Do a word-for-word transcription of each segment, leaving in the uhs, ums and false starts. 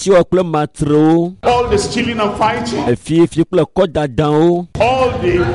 Ahasiwɔ kple matrewo. All the stealing and fighting, Efiefie kple kɔdadawo. All the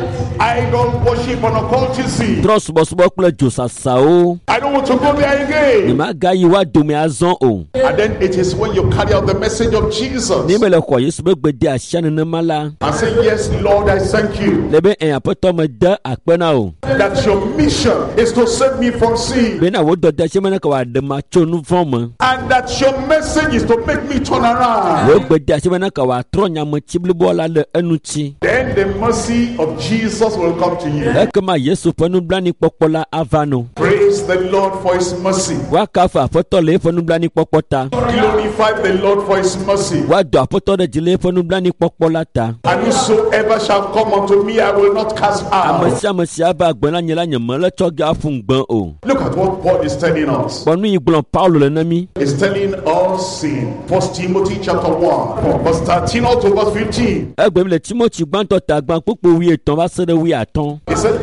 idol worship and occultism. Trɔ subɔsubɔ kple dzosasawo. I don't want to go there again. Nyemagayi woa dome azɔ o. And then it is when you carry out the message of Jesus Ne mele xɔ Yesu be gbe de asia nenema la, and say, "Yes, Lord, I thank you le be ɛ aƒetɔ me de akpe na o. that your mission is to save me from sin Bena wo dɔdeasi me ne ke wòaɖe ma tso nu vɔ̃ me. And that your message is to make me turn around." Wo gbedeasi me ne ke wòatrɔ nyametsi blibo la le eŋuti. Then the mercy of Jesus will come to you. Ekema Yesu ƒe nublanuikpɔkpɔ la ava no. Praise the Lord for his mercy. Woakafu aƒetɔ le eƒe nublanuikpɔkpɔ ta. Glorify the Lord for his mercy. Woado aƒetɔ ɖe dzi le eƒe nublanuikpɔkpɔ la ta. And whosoever shall come unto me, I will not cast Ame out. Sia ame si ava agbe na nye la nye mele tsɔ ge aƒu ŋugbe o. Look at what Paul is telling us. Kpɔ nu yi gblɔm Paulo le na mí. He's telling us in First Timothy chapter one, verse thirteen up to verse fifteen. Egbe mi le Timothy gbãtɔ ta gbã kpukpu wuietɔ̃ va se ɖe wuiatɔ̃. He said,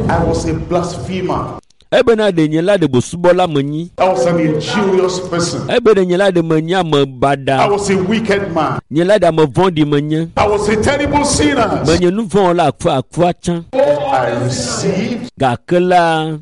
"I was a blasphemer." Ebena ɖe nye la ɖe bosubɔla menyi. I was an injurious person. Ebe ɖe nye la ɖe menye ame baɖa. I was a wicked man. Nye la ɖe ame vɔ̃ɖi menye. I was a terrible sinner. Menye nu vɔ̃ wɔla akua akua tsã. I received. Gake la,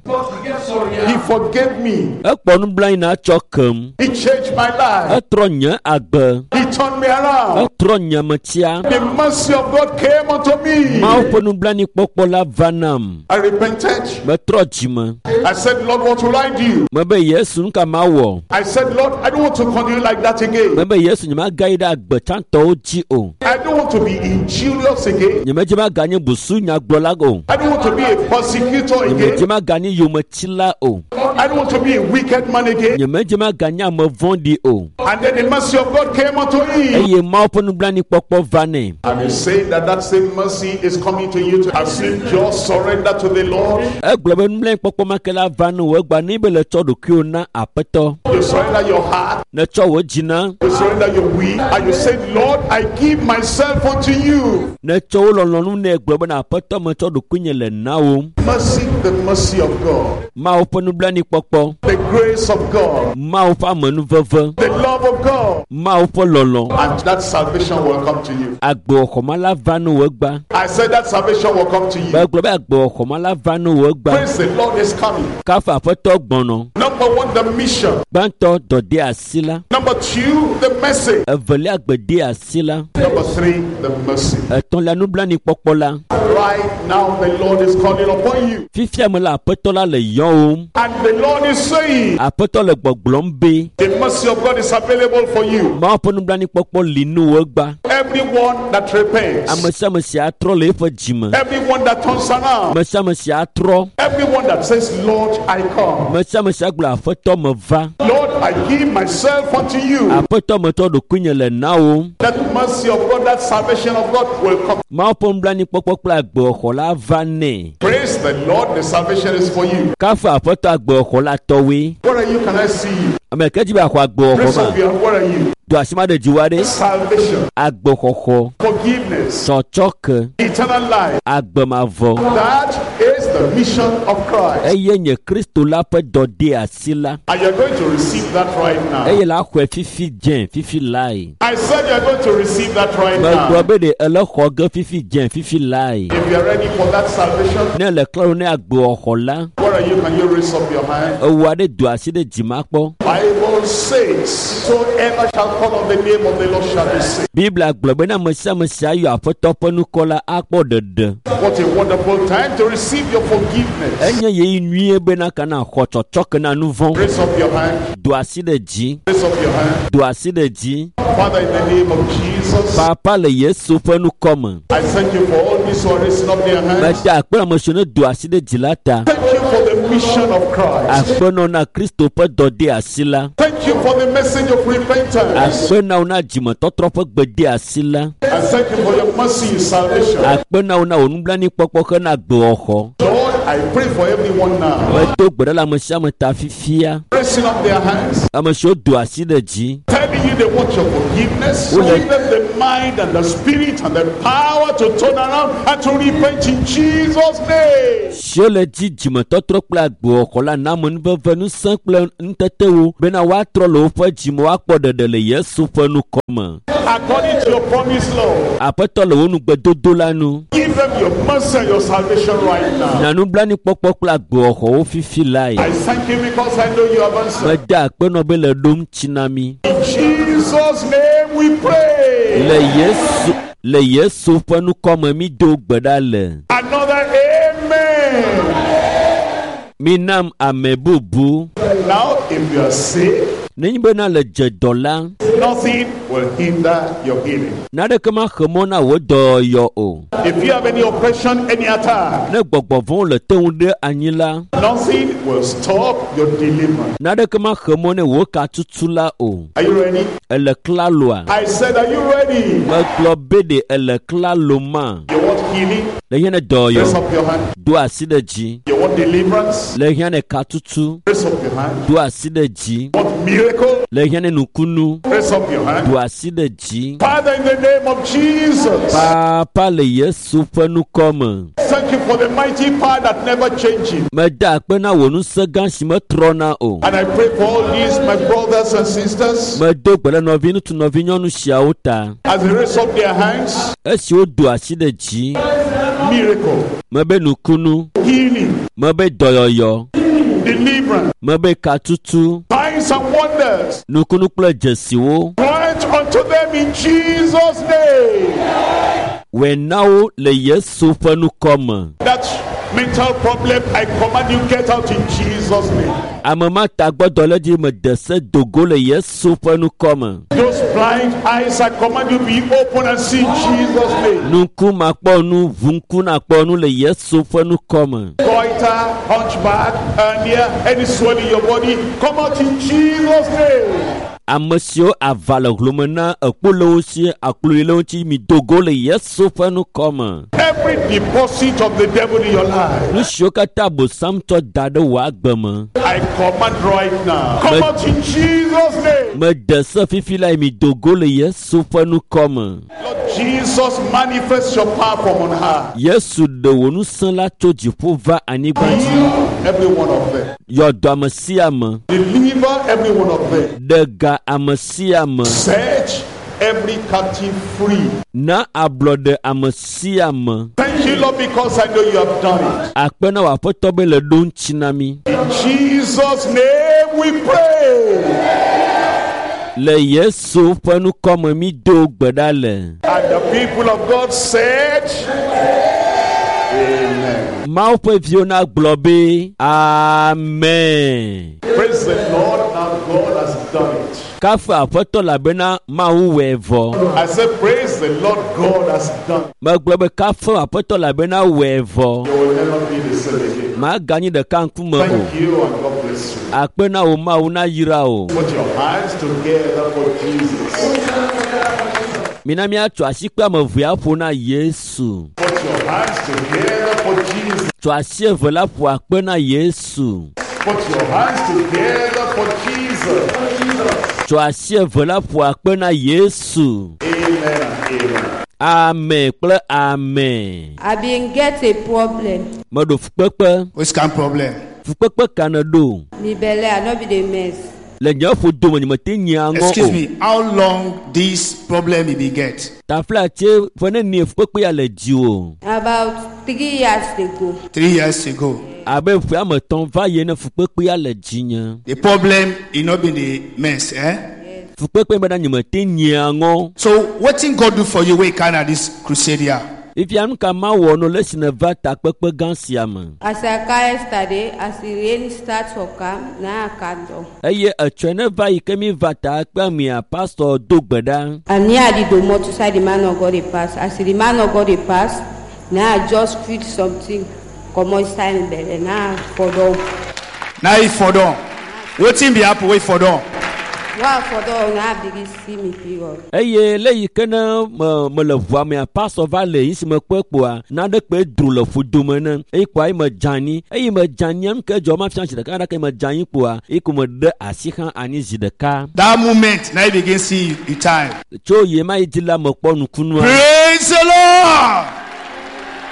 He forgave me. Ekpɔ nublanui na tsɔ kem. He changed my life. Etrɔ nye agbe. He turned me around. Etrɔ nye metia. The mercy of God came unto me. Mawu ƒe nublanuikpɔkpɔ la va nam. I repented. Metrɔ dzime. I said, "Lord, what will I do?" Mebe Yesu nu ka mawɔ? I said, "Lord, I don't want to continue like that again. Mebe Yesu nyemagayi ɖe agbe tsãtɔwo dzi o. I don't want to be injurious again. Nyemedze maganye busu nyagblɔla o. I don't want to be a persecutor Nyemedze again. Maganye yometila o. I don't want to be a wicked man again." Nyemedze maganye ame vɔ̃ɖi o. And then the mercy of God came unto him. Eye Mawu ƒe nublanuikpɔkpɔ va nɛ. And he said that that same mercy is coming to you as you just surrender to the Lord. Egblɔ be nublanuikpɔkpɔ ma ke la va ne wò egba ne be le tsɔ ɖokuiwò na aƒetɔ. You surrender your heart, Netsɔ wò dzi na. You surrender your will, and you say, "Lord, I give myself unto you." Netsɔ wò lɔlɔ̃nu nɛ gblɔ bena aƒetɔ metsɔ ɖokuinye le na wò. Mercy, the mercy of God, Mawu ƒe nublanuikpɔkpɔ. The grace of God, Mawu ƒe amenuveve. The love of God, Mawu ƒe lɔlɔ̃. And that salvation will come to you. Agbewɔxɔma la va ne wò egba. I said that salvation will come to you. Megblɔ be agbewɔxɔma la va ne wò egba. Praise the Lord is coming. Kafu aƒetɔ gbɔnɔ. Number one, the mission. Gbãtɔ dɔdeasi la. Number two, the message. Evelia gbedeasi la. Number three, the mercy. Etɔ̃lia nublanuikpɔkpɔ la. Right now, the Lord is calling upon you. Fifia me la aƒetɔ la le yɔwòm. And the Lord is saying, Aƒetɔ le gbɔgblɔm be the mercy of God is available for you. Mawu ƒe nublanuikpɔkpɔ li nu wò egba. Everyone that repents, Ame sia ame si atrɔ le eƒe dzime. Everyone that turns around, Ame sia ame si atrɔ. Everyone that says, "Lord, I come." Ame sia ame si agblɔ aƒetɔ meva. "Lord, I give myself unto you." Aƒetɔ metsɔ ɖokuinye le na wò. That mercy of God, that salvation of God will come. Mawu ƒe nublanuikpɔkpɔ kple agbewɔxɔ la va nɛ. Praise the Lord, the salvation is for you. Kafu aƒetɔ agbewɔxɔ la tɔwoe. Where are you? Can I see you? Ame ke dzi be axɔ agbewɔxɔ Raise ma. up your hand. Where are you? Do asi ma ɖe dziwò aɖe. Salvation, Agbexɔxɔ. Forgiveness, Tsɔtsɔke. Eternal life. Agbemavɔ. That is the mission of Christ. Eye nye Kristo la ƒe dɔdeasi la. And you're going to receive that right now. Eye la xɔe fifi dze fifi lae. I said you're going to receive that right Megblɔ now. Be ɖe ele xɔ ge fifi dze fifi lae. If you're ready for that salvation, Ne le klalo ne agbewɔxɔ la, where are you? Can you raise up your hand? Ewu aɖe do asi ɖe dzima kpɔ. Bible says, "Soever shall call on the name of the Lord shall be saved." Biblia gblɔ be ne ame sia ame sia yɔ aƒetɔ ƒe ŋkɔ la akpɔ ɖeɖe. What a wonderful time to receive your forgiveness. Enye ɣeyiɣi nyuie bena kana xɔ tsɔtsɔke na nu vɔ̃. Raise up your hand. Do asi ɖe dzi. Raise up your hand. Do asi ɖe dzi. Father, in the name of Jesus, Papa le Yesu ƒe ŋkɔ me. I thank you for all these who are raising up their hands. Meda akpe ame siwo ne do asi ɖe dzi la ta. Thank you for the mission of Christ. Akpe nɔ na Kristo ƒe dɔdeasi la. Thank you for the message of repentance. Akpe na wo na dzimetɔtrɔ ƒe gbedeasi la. And thank you for your mercy in salvation. Akpe na wo na wò nublanuikpɔkpɔ hena agbewɔxɔ. Lord, I pray for everyone now. Medo gbe ɖa le ame sia ame ta fifia. Raising up their hands, Ame siwo do asi ɖe dzi. Telling you, they want your forgiveness. Who Give them the mind and the spirit and the power to turn around and to repent in Jesus' name. Siwo le dzi dzimetɔtrɔ kple agbewɔxɔ la na amenuveve ŋusẽ kple nutetewo bena woatrɔ le woƒe dzime woakpɔ ɖeɖe le Yesu ƒe nukɔme. According to your promise, Lord, Aƒetɔ le wo nugbedodo la nu. give them your mercy and your salvation right now. Na nublanuikpɔkpɔ kple agbewɔxɔwo fifi lae. I thank you because I know you have answered. Mede akpe nɔ be le ɖom tsi na mi. In Jesus' name we pray. Le Yesu le Yesu ƒe nukɔme mi do gbe ɖa le. Another amen. Minam ame bubu. Now, if you are sick, Nenye bena le dze dɔ la, nothing will hinder your healing. naneke maxe mɔ na wò dɔyɔyɔ o. If you have any oppression, any attack, Ne gbɔgbɔ vɔ̃wo le te ŋu ɖe anyi la, nothing will stop your deliverance. naneke maxe mɔ ne wò katutu la o. Are you ready? Ele klaloa? I said, Are you ready? Megblɔ be ɖe ele klalo ma. You want healing? Le hiã ne Raise dɔyɔyɔ, up your hand. do asi ɖe dzi. You want deliverance? Le hiã ne katutu, Raise up your hand. do asi ɖe dzi. You want miracle? Le hiã ne nukunu, Raise up your hand. do asi ɖe dzi. Father, in the name of Jesus, Papa le Yesu ƒe nukɔme. thank you for the mighty power that never changes. Mede akpe na wò ŋusẽ gã si metrɔna o. And I pray for all these, my brothers and sisters, Medo gbe ɖe nɔvi ŋutsu nɔvi nyɔnu siawo ta. as they raise up their hands, Esi wodo asi ɖe dzi, miracle, mebe nukunu, healing, mebe dɔyɔyɔ, deliverance, mebe katutu, signs and wonders. nukunu kple dzesiwo. Grant unto them in Jesus' name. Wòe na wo le Yesu ƒe nukɔme. That mental problem, I command you get out in Jesus' name. Ame ma tagbɔdɔlédzi mede se dogo le Yesu ƒe nukɔme. Those blind eyes, I command you be open and see in Jesus' name. Nuku makpɔ nu, ʋu ŋku nakpɔ nu le Yesu ƒe nukɔme. Goiter, hunchback, hernia, any swelling in your body, come out in Jesus' name. Ame siwo ava le hlome na ekpo le wo si, akplui le wo ŋuti, mi dogo le Yesu ƒe nukɔme. Every deposit of the devil in your life, Nu siwo katã Abosam tsɔ da ɖe wò agbe me. I command right now. Come out in Jesus' name. Mede se fifi lae mi dogo le Yesu ƒe nukɔme. Lord Jesus, manifest your power from on high. Yesu ɖe wò ŋusẽ la tso dziƒo va anyigba dzi. Heal every one of them. Yɔ dɔ ame sia ame. Deliver every one of them. Ɖe ga ame sia ame. Set every captive free. Na ablɔɖe ame sia ame. Thank you, Lord, because I know you have done it. Akpe na wò aƒetɔ be le ɖo ŋuti na mi. In Jesus' name we pray. Le Yesu ƒe nukɔme mi do gbe ɖa le. And the people of God said, Amen. Mawu ƒe viwo na gblɔ be Amen. Praise the Lord, now God has done it. Kafu aƒetɔ elabena Mawu wɔe vɔ. I said, Praise the Lord, God has done it. Megblɔ be kafu aƒetɔ elabena wɔe vɔ. You will never be the same again. Maganyi ɖeka ŋkume o. Thank you and God bless you. Akpe na wò Mawu na yra o. Put your hands together for Jesus. Mina míatso asi kple ame evea ƒo na Yesu. Put your hands together for Jesus. Tso asi eve la ƒo akpe na Yesu. Put your hands together for Jesus. Tso asi eve la ƒo akpe na Yesu. Amen and amen. Amen kple amen. I been get a problem. Meɖo fukpekpe. Which kind problem? Fukpekpe ka ne ɖo? Me belle, I no be the mess. Le nye ƒodo me nyemete nyia ŋɔ Excuse o. me, how long this problem he be get? Taflatse ƒe nenie fukpekpe ya le dziwò? About three years ago, Three years ago. Abe ƒe ame etɔ̃ va yi ne fukpekpe ya le dzinye. The problem he not been the mess, eh? Fukpekpe bena nyemete nyia ŋɔ. So what thing God do for you when you come at this crusade here? Ifia nu ka mawɔ no le esi neva takpekpe gã sia me. as I come yesterday, as the rain start for come, now I can do. Eye etsɔe ne va yi ke mi va takpea mia pastor do gbe ɖa. And near the domot side the man of God dey pass. As the man of God dey pass, now I just feel something come inside me belle. Now I fall down. Now he for down. What thing be happen wait for down? Wa afɔdɔ na begin see me period. Eye le yi ke ne me mele ʋua mea pasɔ va le yi si me kpɔe kpoa naɖe kpe dro le ƒodome ne eye kpoa ye me dze anyi eye me dze anyia nu ke dzɔ ma fia zi ɖeka ɖeka me dze anyi kpoa eye ko me ɖe asi hã anyi zi ɖeka. That moment, now you begin see the time. Tso yi ma yi dzi la mekpɔ nukunua. Praise the Lord.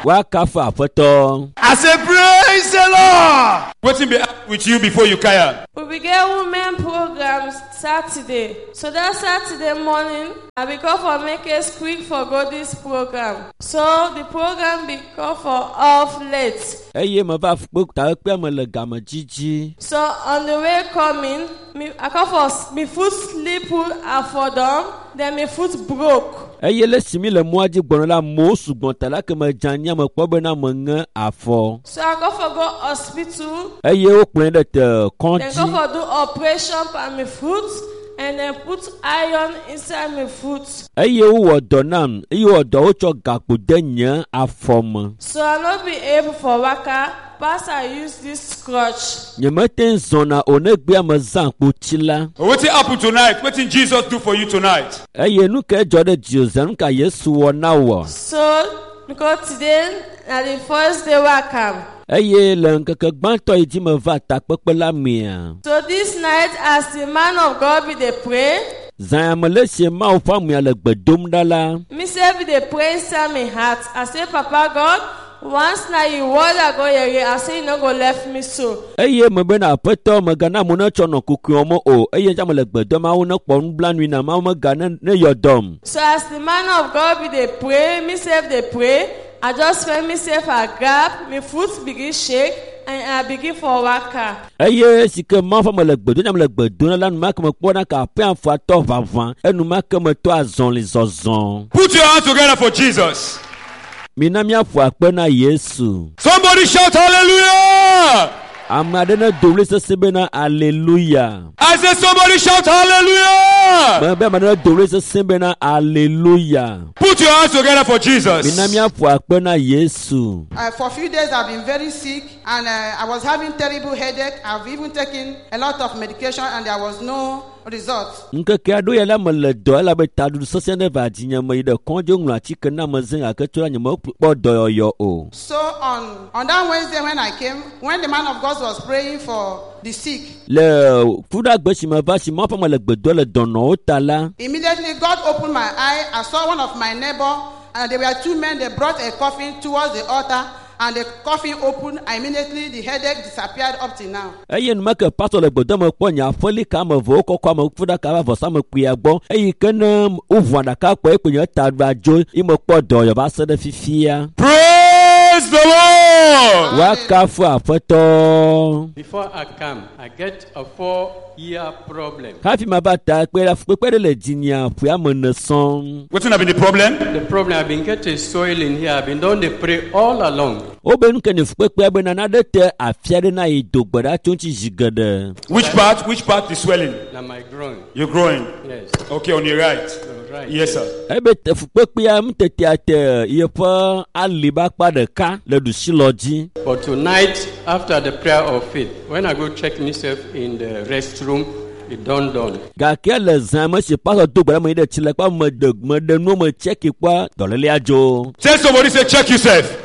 Woakafu aƒetɔ. I say, praise the Lord. Wetin be with you before you kaya? We be get women program Saturday. So that Saturday morning, I be call for make us quick for go this program. So the program be call for off late. Eye meva kpe takpekpea me le game dzidzi. So on the way coming, me I call for s- me foot slip afodom, then me foot broke. Eye le si mi le mɔa dzi gbɔna la amewo sugbɔ ta la ke me dze anyia mekpɔ bena meŋe afɔ. So I go for go hospital, Eye wokplɔe ɖe te then go kɔdzi. for do operation for me foot, and then put iron inside me foot. Eye wowɔ dɔ nam eye wowɔ dɔ wotsɔ gakpo de nye afɔ me. So I not be able for waka, pass I use this crutch. Nyemete ŋu zɔna o ne gbea me zã kpotsi la. Wetin happen tonight? Wetin Jesus do for you tonight? Eye nu ke dzɔ ɖe dziwò zã nu ka Yesu wɔ na wò? So because today na the first day wey I come. Eye le ŋkeke gbãtɔ yi dzi meva takpekpe la mea. So this night as the man of God be dey pray, Zã ya me le si Mawu ƒe amea le gbe dom ɖa la. me sef be dey pray inside my heart. I say, Papa God, once na you word I go hear, I say you no go left me so. Eye me bena aƒetɔ megana amewo netsɔ nɔ kukuiwo o eye ŋuti ame le gbe dom Mawu nekpɔ nublanui na Mawu mega ne ne yɔ dɔm. So as the man of God be dey pray, me sef dey pray, I just feel myself I grab, my foot begin shake, and I begin for waka. Eye si ke Mawu ƒe ame le gbe dom ame le gbe dom la enumake mekpɔna ke aƒea afɔa tɔ ʋaʋã enumake metɔ azɔli zɔzɔ. Put your hands together for Jesus. Mina míaƒo akpe na Yesu. Somebody shout hallelujah. Ame aɖe ne do ɣli sesẽ bena Aleluya. I say somebody shout hallelujah. Mebe ame aɖe ne do ɣli sesẽ bena Aleluya. Put your hands together for Jesus. Mina míaƒo akpe na Yesu. Uh, for a few days, I've been very sick and uh, I was having terrible headache. I've even taken a lot of medication and there was no result. Ŋkeke aɖewo ya la mele dɔ elabe taɖuɖu sesẽ ɖe va dzinye me yi ɖe kɔdzi woŋlɔ atike na me zẽ gake tso la nyemekpɔ dɔyɔyɔ o. So on, on that Wednesday when I came, when the man of God was praying for the sick, Le fuɖagbe si meva si Mawu ƒe ame le gbe dom le dɔnɔwo ta la, immediately God opened my eye. I saw one of my neighbor and there were two men. They brought a coffin towards the altar and the coffin opened. And immediately the headache disappeared up till now. eye enumake pastor le gbe dom mekpɔ nye aƒelika ame eve wokɔkɔ ame kuku ɖaka va vɔsamlekpuia gbɔ eyi ke ne woʋu aɖaka kpɔ ekpe nye taɖua dzo ye mekpɔ dɔyɔ va se ɖe fifia. Praise the Lord. Woakafu aƒetɔ. Before I come, I get a four-year problem. Hafi mava ta kpe la fukpekpe ɖe le dzinyea ƒe ame ene sɔŋ. Wetin have been the problem? The problem I've been getting soil in here. I've been doing the pray all along. Wobe nu ke ne fukpekpea bena naɖe te afia ɖe na yi do gbe ɖa tso ŋuti zi geɖe. Which part? Which part is swelling? Now my groin. You're growing. Yes. Okay, on your right. Right. Yes, sir. Ebe te fukpekpea nutetea te yeƒe aliba akpa ɖeka le ɖusilɔ dzi. But tonight, after the prayer of faith, when I go check myself in the restroom, it done done. Gake le zã me si pastor do gbe ɖa me yi ɖe tsilekpa me ɖe me ɖe nuwo me tsɛki kpɔa dɔlélea dzo. Tell somebody say check yourself.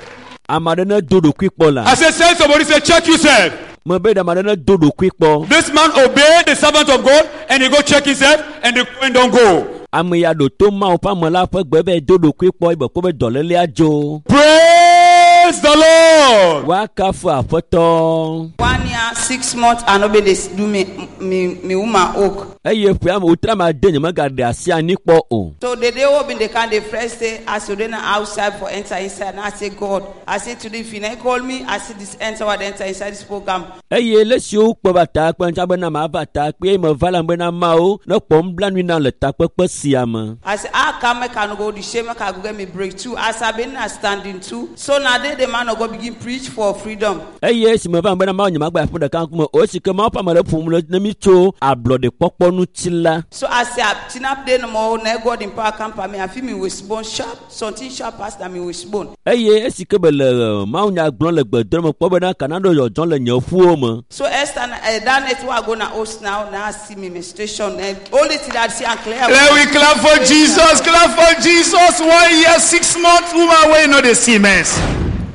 Ame aɖe ne do ɖokui kpɔ la. I say tell somebody say check yourself. Mebe ɖe ame aɖe ne do ɖokui kpɔ. This man obeyed the servant of God and he go check himself and the coin don't go. Ame ya ɖo to Mawu ƒe ame la ƒe gbe be do ɖokui kpɔ eye be kpɔ be dɔlélea dzo. Praise the Lord. Woakafu aƒetɔ. One year, six months, I no be dey do me me me woman work. Eye ƒe ame wotra ma de nye megaɖe asi anyi kpɔ o. So the day we been dey come dey fresh say as you dey na outside for enter inside. Now I say God, I say today if you not call me, I say this enter what enter inside this program. Eye le siwo kpe va takpe ŋuti bena mava takpe eye meva la bena Mawu ne kpɔ nublanui nam le takpekpe sia me. I say how come I can go the shame I can go get me breakthrough as I been na standing too. So now they Sunday the man of God begin preach for freedom. Eye esime va bena Mawu nyemagba aƒe ɖeka ŋkume o esi ke Mawu ƒe ame ɖe ƒom le ne mi tso ablɔɖekpɔkpɔ ŋuti la. So I say, Tina play no more, now God in power come for me. I feel me wishbone sharp, something sharp pass than me wishbone. Eye esi ke be le Mawu nya gblɔm le gbedom me kpɔ bena kana ɖo dzɔdzɔm le nye ƒuwo me. So Esther, uh, that night we are going to host now, now I see me menstruation. And only thing that I see and clear. Let we clap for Jesus, clap for Jesus. One year, six months, woman, wey no dey see mess.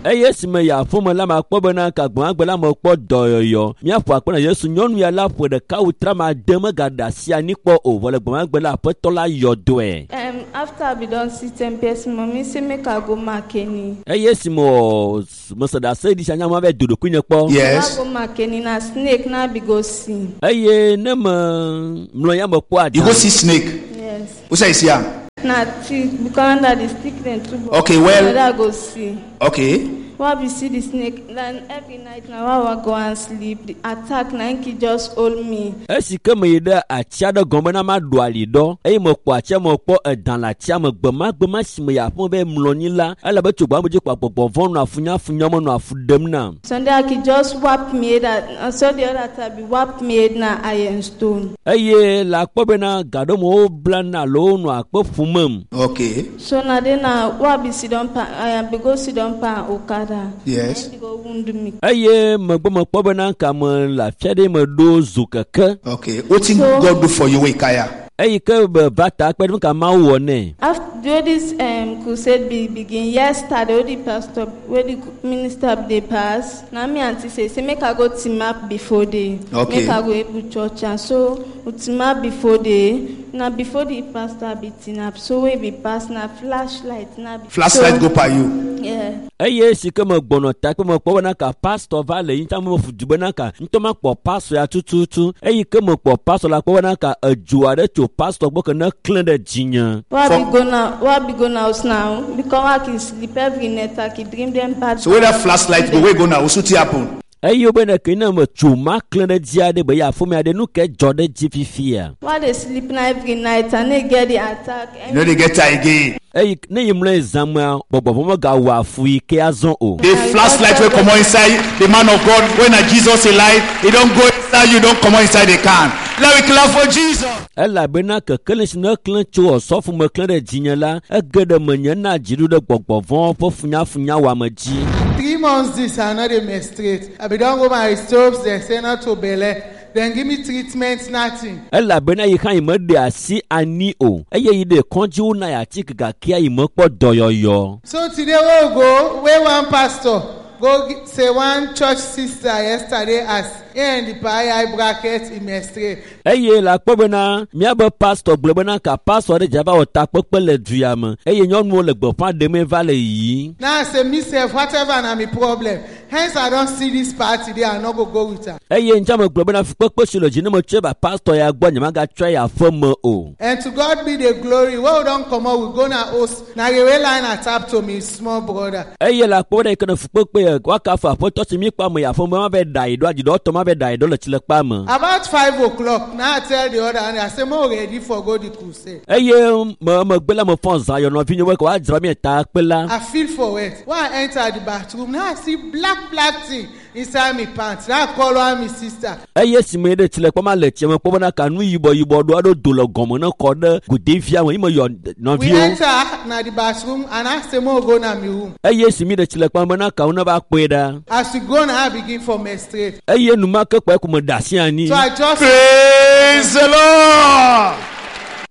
Eye esime yi aƒeme la makpɔ bena kagbãgbe la mekpɔ dɔyɔyɔ. Míaƒo akpe na Yesu nyɔnu ya la ƒe ɖeka wu trama ade megaɖe asi anyi kpɔ o vɔ le gbãgbe la aƒetɔ la yɔ dɔe. Um, after I be don see ten person, mommy say make I go Makeni. Eye esime wɔ mese ɖase ɖi sia nya ma va do ɖokuinye kpɔ. Yes. I go Makeni na snake na be go see. Eye ne me mlɔ ya me kpɔ You go ada. see snake. Yes. Who say you see am? Na thick because under the stick dem too. but Okay, well- Na I go see. Okay. Why we see the snake? Then every night now why I go and sleep. The attack na him just hold me. Esi ke me yi ɖe atsi aɖe gɔme na ma ɖu ali ɖɔ eye mekpɔ atsia mekpɔ edã le atsia me gbemagbema si me yi aƒeme be mlɔ anyi la ele be tso gbame dzi kpɔ gbɔgbɔ vɔ nɔ afunyafunya me nɔ afu ɖem nam. Sunday I could just whap me that and so the other time be whap me na iron stone. Eye le akpɔ bena gaɖome woblana alo wonɔ akpe ƒumem. Okay. So na then na why be sit down pa I be go sit down pa Okada. Yes. Then he go wound me. Eye megbe mekpɔ bena kame le afi aɖe meɖo zu keke. Okay. Wetin So- God do for you wey kaya? Eyi ke be va ta kpe ɖe nu ka Mawu wɔ nɛ. After though this um, crusade be begin yesterday, the pastor where the minister dey pass. Na me aunty say say make I go team up before day. Okay. Make I go able church and so we team up before day. Na before the pastor be team up so wey be pass na flashlight na be. Flashlight so, go pa you. Yeah. Eye si ke megbɔnɔ ta kpe mekpɔ bena ka pastor va le yi ŋuti ame mefu du bena ka ŋutɔ makpɔ pastor ya tututu. Eyi ke mekpɔ pastor la kpɔ bena ka edzo aɖe tso pastor gbɔ ke ne klẽ ɖe dzinye. Why For- be go now? Why be go now house now? Because I can sleep every night. I can dream them bad. So where that flashlight go, wey go now? Wetin happen? Eye wo bena ke ne metso ma klẽ ɖe dzi aɖe be ya aƒeme aɖe nu ke dzɔ ɖe dzi fifia. Why they sleep now every night and they get the attack? You no dey get her again. Eyi ne yi mlɔ zãmea gbɔgbɔ megawɔ afu yi ke azɔ o. The flashlight wey comot inside the man of God when na Jesus alive, he don go inside you, don comot inside the can. Let we clap for Jesus. Elabena kekeli si ne klẽ tso ɔsɔfo me klẽ ɖe dzinye la ege ɖe menye na dziɖu ɖe gbɔgbɔ vɔ̃ ƒe funyafunyawɔame dzi. Three months this, I no dey menstruate. I be don go my stopes, they say not to belle. Then give me treatment, nothing. Elabena yi hã yi meɖe asi ani o eye yi ɖe kɔdziwo na yi atike gakea yi mekpɔ dɔyɔyɔ. So today we go, where one pastor go gi- say one church sister yesterday as he and the eye bracket he menstruate. Eye le akpɔ bena míabe pastor gblɔ bena ka pastor ɖe dza va wɔ takpekpe le du ya me eye nyɔnuwo le gbeƒã ɖemee va le yiyim. Now I say me sef whatever na me problem. Hence I don see this party there, I no go go with her. Eye ŋutia megblɔ bena fukpekpe si le dzi ne metsɔe va pastor ya gbɔ nyemagatsɔe yi aƒe me o. And to God be the glory. When we don comot, we go na host. Na railway line I tap to me small brother. Eye le akpɔ bena yi ke ne fukpekpe ya woakafu aƒetɔ si míkpɔ ame yi aƒe me ma va ɖe ayi ɖo adziɖɔtɔ ma va ɖe ayi ɖo le tsilekpa me. About five o'clock, now I tell the other one, I say, more ready for go the crusade. Eye me megbe la mefɔ zã yɔ nɔvinyewo be woadzra mi ta kpe la. I feel for it. When I enter the bathroom, now I see black, black thing inside me pants. Now I call one my sister. Eye si me ɖe tsilekpɔ ma le tsia me kpɔ bena ka nu yibɔ yibɔ ɖo aɖo do le gɔme ne kɔ ɖe godevia me yi me yɔ We nɔviwo. enter na the bathroom and I say, more go na me room. Eye si mi ɖe tsilekpɔ me bena kawo ne va kpɔe ɖa. As we go now, I begin for menstruate. Eye numake kpɔ eku me ɖe asi anyi. So I just Praise the Lord.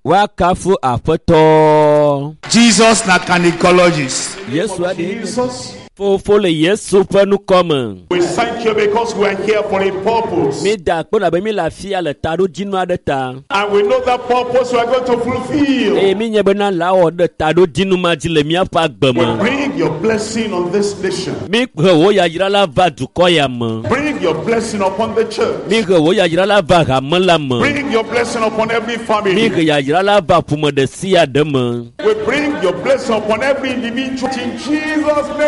Woakafu aƒetɔ. Jesus na gynecologist. Yesu aɖe Jesus, fofo le Yesu ƒe nukɔme. we thank you because we are here for a purpose. Mi da akpe labe mi le afia le taɖodzinu aɖe ta. And we know that purpose we are going to fulfill. Eye mi nye bena la wɔ ɖe taɖodzinu ma dzi le míaƒe agbe We me. bring your blessing on this nation. Mi he wò yayra la va dukɔ ya me. Bring your blessing upon the church. Mi he wò yayra la va hame la me. Bring your blessing upon every Mi family. he yayra la va ƒome ɖe sia ɖe me. We bring your blessing upon every individual in Jesus'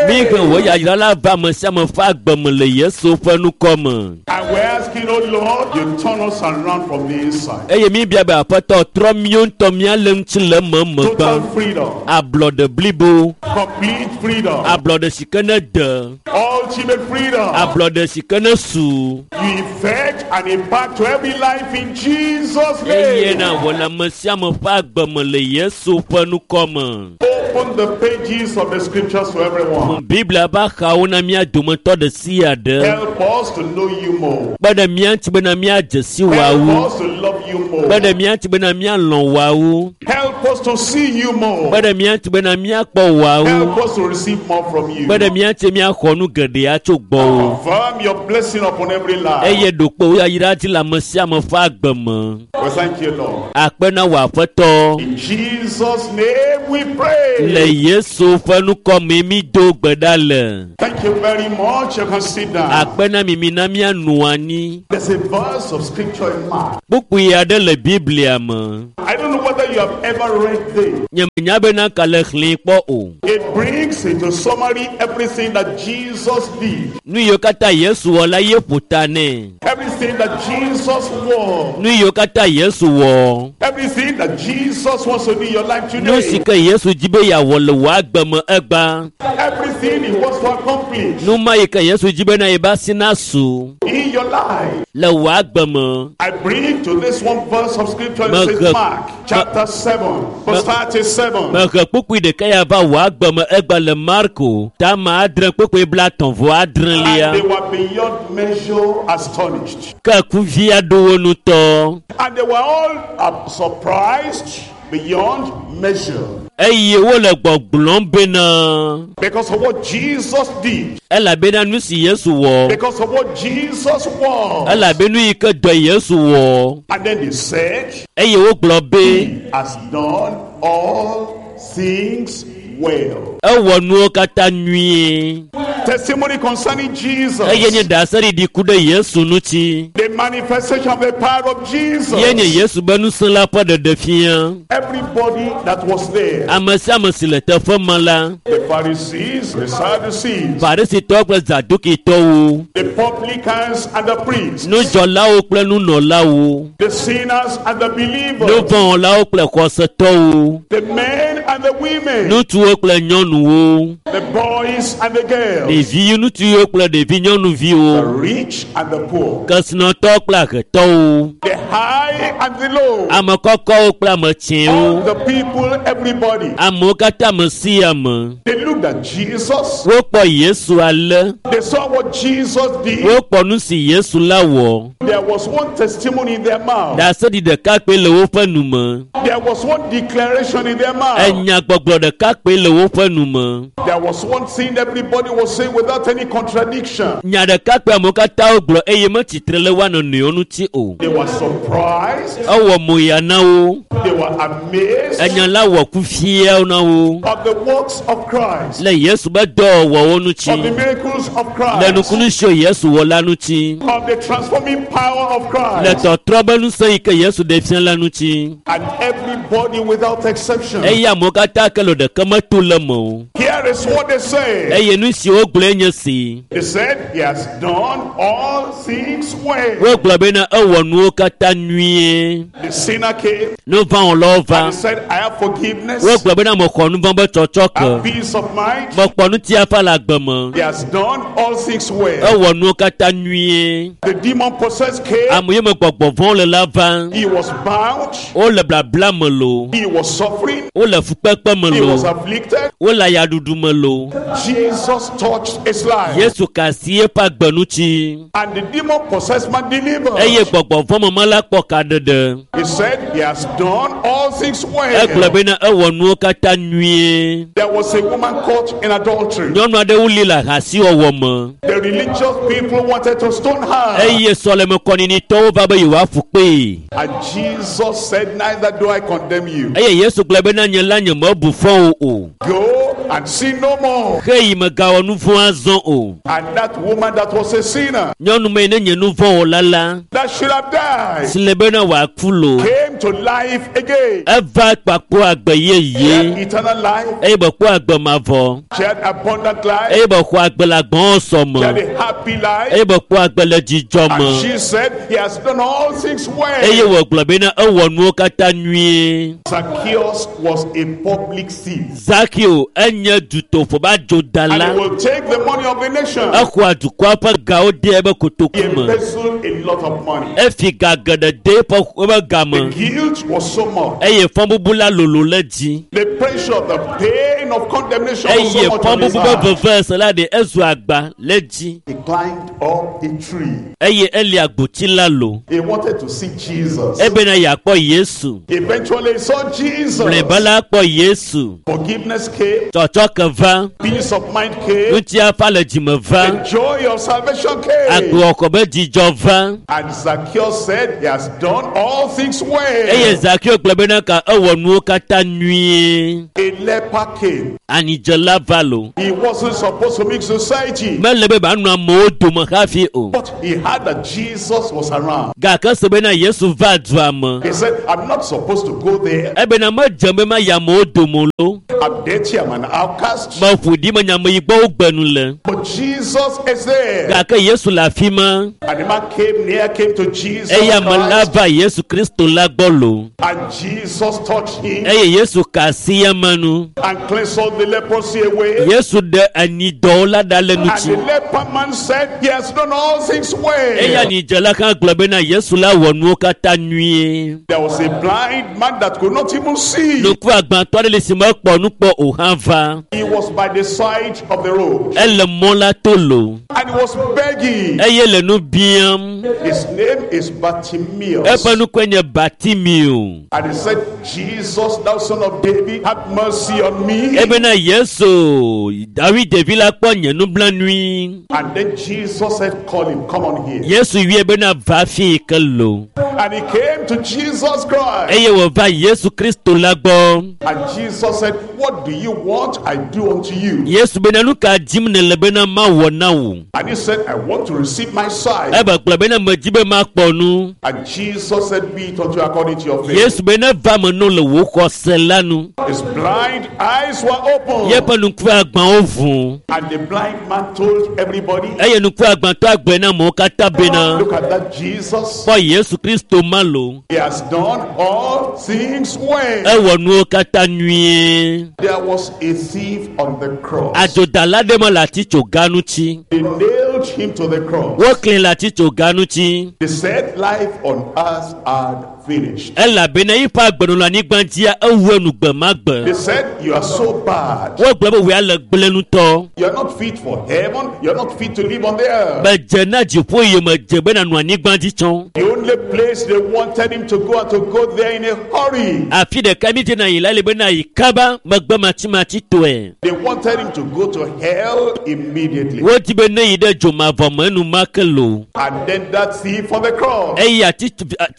Mi he name. wò yayra la va ame sia ame ƒe agbe me le Yesu ƒe nukɔ me. And We're asking, oh Lord, you turn us around from the inside. Eye mi bia be aƒetɔ trɔ míawo ŋutɔ míalé ŋuti le eme megbe. Total freedom, Ablɔɖe blibo, complete freedom, ablɔɖe si ke ne de, ultimate freedom. ablɔɖe si ke ne su. You effect and impact to every life in Jesus' Eye name. na wɔ le ame sia ame ƒe agbe me le Yesu ƒe nukɔ me. Open the pages of the scriptures to everyone. Biblia ƒe axawo na mía dometɔ ɖe sia ɖe. Help us to know you more. Kpe ɖe mía ŋuti bena míadze si Help wòawu. us to love you more. Kpe ɖe mía ŋuti bena míalɔ̃ wòawu. Help us to see you more. Kpe ɖe mía ŋuti bena míakpɔ wòawu. Help us to receive more from you. Kpe ɖe mía ŋuti míaxɔ nu geɖe atso gbɔwò. Confirm your blessing upon every life. Eye ɖokpe yayra dzi le ame sia ame ƒe agbe me. We thank you, Lord. Akpe na wò aƒetɔ. In Jesus' name we pray. Le Yesu ƒe nukɔ me mi do gbe ɖa le. Thank you very much. You can sit down. Akpe na mi mi na míanɔ anyi. There's a verse of scripture in Mark. Kpukpui aɖe le Biblia me. I don't know whether you have ever read this. Nye menya bena ka le xlẽe kpɔ o. It brings into summary everything that Jesus did, Nu yiwo katã Yesu wɔ la ye ƒo ta nɛ. everything that Jesus was, Nu yiwo katã Yesu wɔ. everything that Jesus wants to do in your life Nu si today, ke Yesu di be yeawɔ le wò agbe me egbea. everything he wants to accomplish Nu ma yi ke Yesu di bena yeba si nasu in your life. le wò agbe me. I bring to this one verse of scripture, it Mehe- says Mark chapter seven, verse thirty-seven. Mehe kpukpui ɖeka ya va wò agbe me egbea le Marko tama adre kpukpui blaetɔ̃ vɔ adrelia. And they were beyond measure astonished. Ke kuvi aɖewo ŋutɔ. And they were all uh, surprised beyond measure Eye wole gbɔgblɔm bena because of what Jesus did, elabena nu si Yesu wɔ, because of what Jesus was. elabe nu yi ke dɔ Yesu wɔ. And then they said, Eye wogblɔ be He has done all things well. ewɔ nuwo katã nyuie. Testimony concerning Jesus, Eye nye ɖaseɖiɖi ku ɖe Yesu ŋuti. the manifestation of the power of Jesus. Ye nye Yesu be ŋusẽ la ƒe ɖeɖefia. Everybody that was there, Ame sia ame si le teƒe ma la, the Pharisees, the Sadducees, Farisitɔwo kple Zadukitɔwo, the publicans and the priests, nudzɔlawo kple nunɔlawo, the sinners and the believers, nuvɔ̃wɔlawo kple xɔsetɔwo, the men and the women, ŋutsuwo kple nyɔnuwo, the boys and the girls, ɖevi ŋutsuwo kple ɖevi the nyɔnuviwo, rich and the poor, kesinɔtɔwo kple ahetɔwo, the high and the low, ame kɔkɔwo kple ame all tsɛwo, the people, everybody. amewo katã ame sia ame. They looked at Jesus, Wokpɔ Yesu ale, they saw what Jesus did. wokpɔ nu si Yesu la wɔ. There was one testimony in their mouth, Ɖaseɖi ɖeka kpoe le woƒe nu me. there was one declaration in their mouth, Enyagbɔgblɔ ɖeka kpoe le woƒe nu me. there was one thing everybody was saying without any contradiction. Nya ɖeka kpoe amewo katã wogblɔ eye metsitre le woa nɔnɔewo ŋuti o. They were surprised, Ewɔ moya na wo. they were amazed Enya la wɔ kufiawo na wo. of the works of Christ, Le Yesu be dɔwɔwɔwo of the ŋuti. miracles of Le Christ, nukunu siwo Yesu wɔ la ŋuti. of the transforming power of Le Christ. tɔtrɔ be ŋusẽ yi ke Yesu ɖe fia la ŋuti. And everybody without exception. Eye amewo katã ke le ɖeke meto le me o. Here is what they say. Eye nu si wogblɔe nye si. They said he has done all things well. Wogblɔ bena ewɔ nuwo katã nyuie. The sinner came Nuvɔ̃wɔlawo va. and he said, I have forgiveness, Wogblɔ bena mexɔ nuvɔ̃ be I tsɔtsɔke. have peace of mind. Mekpɔ ŋutifafa le agbe me. He has done all things well. Ewɔ nuwo katã nyuie. The demon possessed came. Ame yi me gbɔgbɔ vɔ̃wo le la va. He was bound. Wole blabla me loo. He was suffering. Wole fukpekpe me He was loo. afflicted. Wole ayaɖuɖu me loo. Jesus touched his life. Yesu ka asi eƒe agbe ŋuti. And the demon possessed man delivered. Eye gbɔgbɔ vɔ̃ me me la kpɔ kaɖeɖe. He said he has done all things Egblɔ well. bena ewɔ nuwo katã nyuie. There was a woman caught in adultery. Nyɔnu aɖewo li le ahasiwɔwɔ me. The religious people wanted to stone her. Eye sɔlemekɔninitɔwo va be yewoaƒu kpee. And Jesus said, Neither do I condemn you. Eye Yesu gblɔ bena nye la nye mebu fɔ wo o. Go and sin no more. Ke yi megawɔ nu vɔ̃ azɔ o. And that woman that was a sinner, Nyɔnu me ne nye nu vɔ̃ wɔla la, that should have died, si le bena wòaku lo. came to life again. Eva kpakpo agbe She had yeye eternal life. eye be kpɔ agbe mavɔ She had abundant life. eye be xɔ agbe le agbɔn sɔ She had me a happy life. eye be kpɔ agbe le dzidzɔ And me she said, He has done all things eye well. wògblɔ bena ewɔ nuwo katã nyuie. Zacchaeus was a public thief. Zakeo enye dutoƒo be And adzodala he will take the money of the nation. exɔa dukɔa ƒe gawo de eƒe He kotoku me embezzled a lot of money. efi ga geɖe de eƒe eƒe ga The me guilt was so much. eye fɔbubu la lolo le dzi The pressure, the pain of condemnation was eye so much on his fɔbubu be heart. veve se la ɖe ezu agba le dzi He climbed up a tree. eye eli agboti la lo He wanted to see Jesus. ebena yeakpɔ Yesu Eventually, he saw Jesus. mlɔeba la kpɔ Yesu Forgiveness came, tsɔtsɔke va peace of mind came, ŋutiafa le dzime va the joy of salvation came. agbewɔkɔ be dzidzɔ va And Zacchaeus said, He has done all things eye well. Zakeo gblɔ bena ka ewɔ nuwo katã nyuie A leper came. anidzela va lo He wasn't supposed to make society, mele be manɔ amewo dome hafi o but he heard that Jesus was around. gake se bena Yesu va dua me He said, I'm not supposed to go there. ebena medze be mayi amewo dome o lo I'm dirty, I'm an outcast. meƒo ɖi menya ame yi gbɔ wogbe nu le But Jesus is there. gake Yesu le afi ma And the man came near, came to Jesus. eye ame la Christ, va Yesu Kristo la gbɔ lo and Jesus touched him eye Yesu ka asi eme nu and cleansed all the leprosy away. Yesu ɖe anyidɔwo la ɖa le And ŋuti the leper man said, He has done all things eye well. anidzela hã gblɔ bena Yesu la wɔ nuwo katã nyuie There was a blind man that could not even see. nuku agbãtɔ aɖe le si mekpɔ nu kpɔ o hã va He was by the side of the road ele mɔ la to lo and he was begging. eye le nu biam His name is Bartimaeus. eƒe nukue nye Bartimeo And he said, Jesus, thou son of David, have mercy on me. ebena Yesu David ɖevi la kpɔ nye nublanui And then Jesus said, Call him, come on here. Yesu yɔe bena va fi yi ke lo And he came to Jesus Christ. eye wòva Yesu Kristo la gbɔ And Jesus said, What do you want I do unto you? Yesu bena nu ka dim nèle bena mawɔ na wò And he said, I want to receive my sight. ebe gblɔ bena medzi be makpɔ nu And Jesus said, Be it unto you according to your faith. Yesu be ne va me no le wò xɔse la nu His blind eyes were opened. yeƒe nuku agbawo ʋu And the blind man told everybody, eye nuku agbãtɔ agblɔe na amewo katã bena Look at that Jesus. kpɔ Yesu Kristo ma lo He has done all things well. ewɔ nuwo katã nyuie There was a thief on the cross. adzodala ɖe me le atitsoga ŋuti They nailed him to the cross. woklẽ le atitsoga ŋuti They said life on earth had finished. elabena yiƒe agbenɔnɔ anyigba dzia ewu enu gbe ma They gbe said, You are so bad. wogblɔ be wòya le gblẽ ŋutɔ You are not fit for heaven. You are not fit to live on the earth. medze na dziƒo yi medze be nanɔ anyigba dzi tsɔ The only place they wanted him to go and to go there in a hurry. afi ɖeka mi dzena yi la le bena yi kaba megbe matsimatsitɔe They wanted him to go to hell immediately. wodi be ne yi ɖe dzomavɔ me enumake lo And then that thief on the cross. eye ati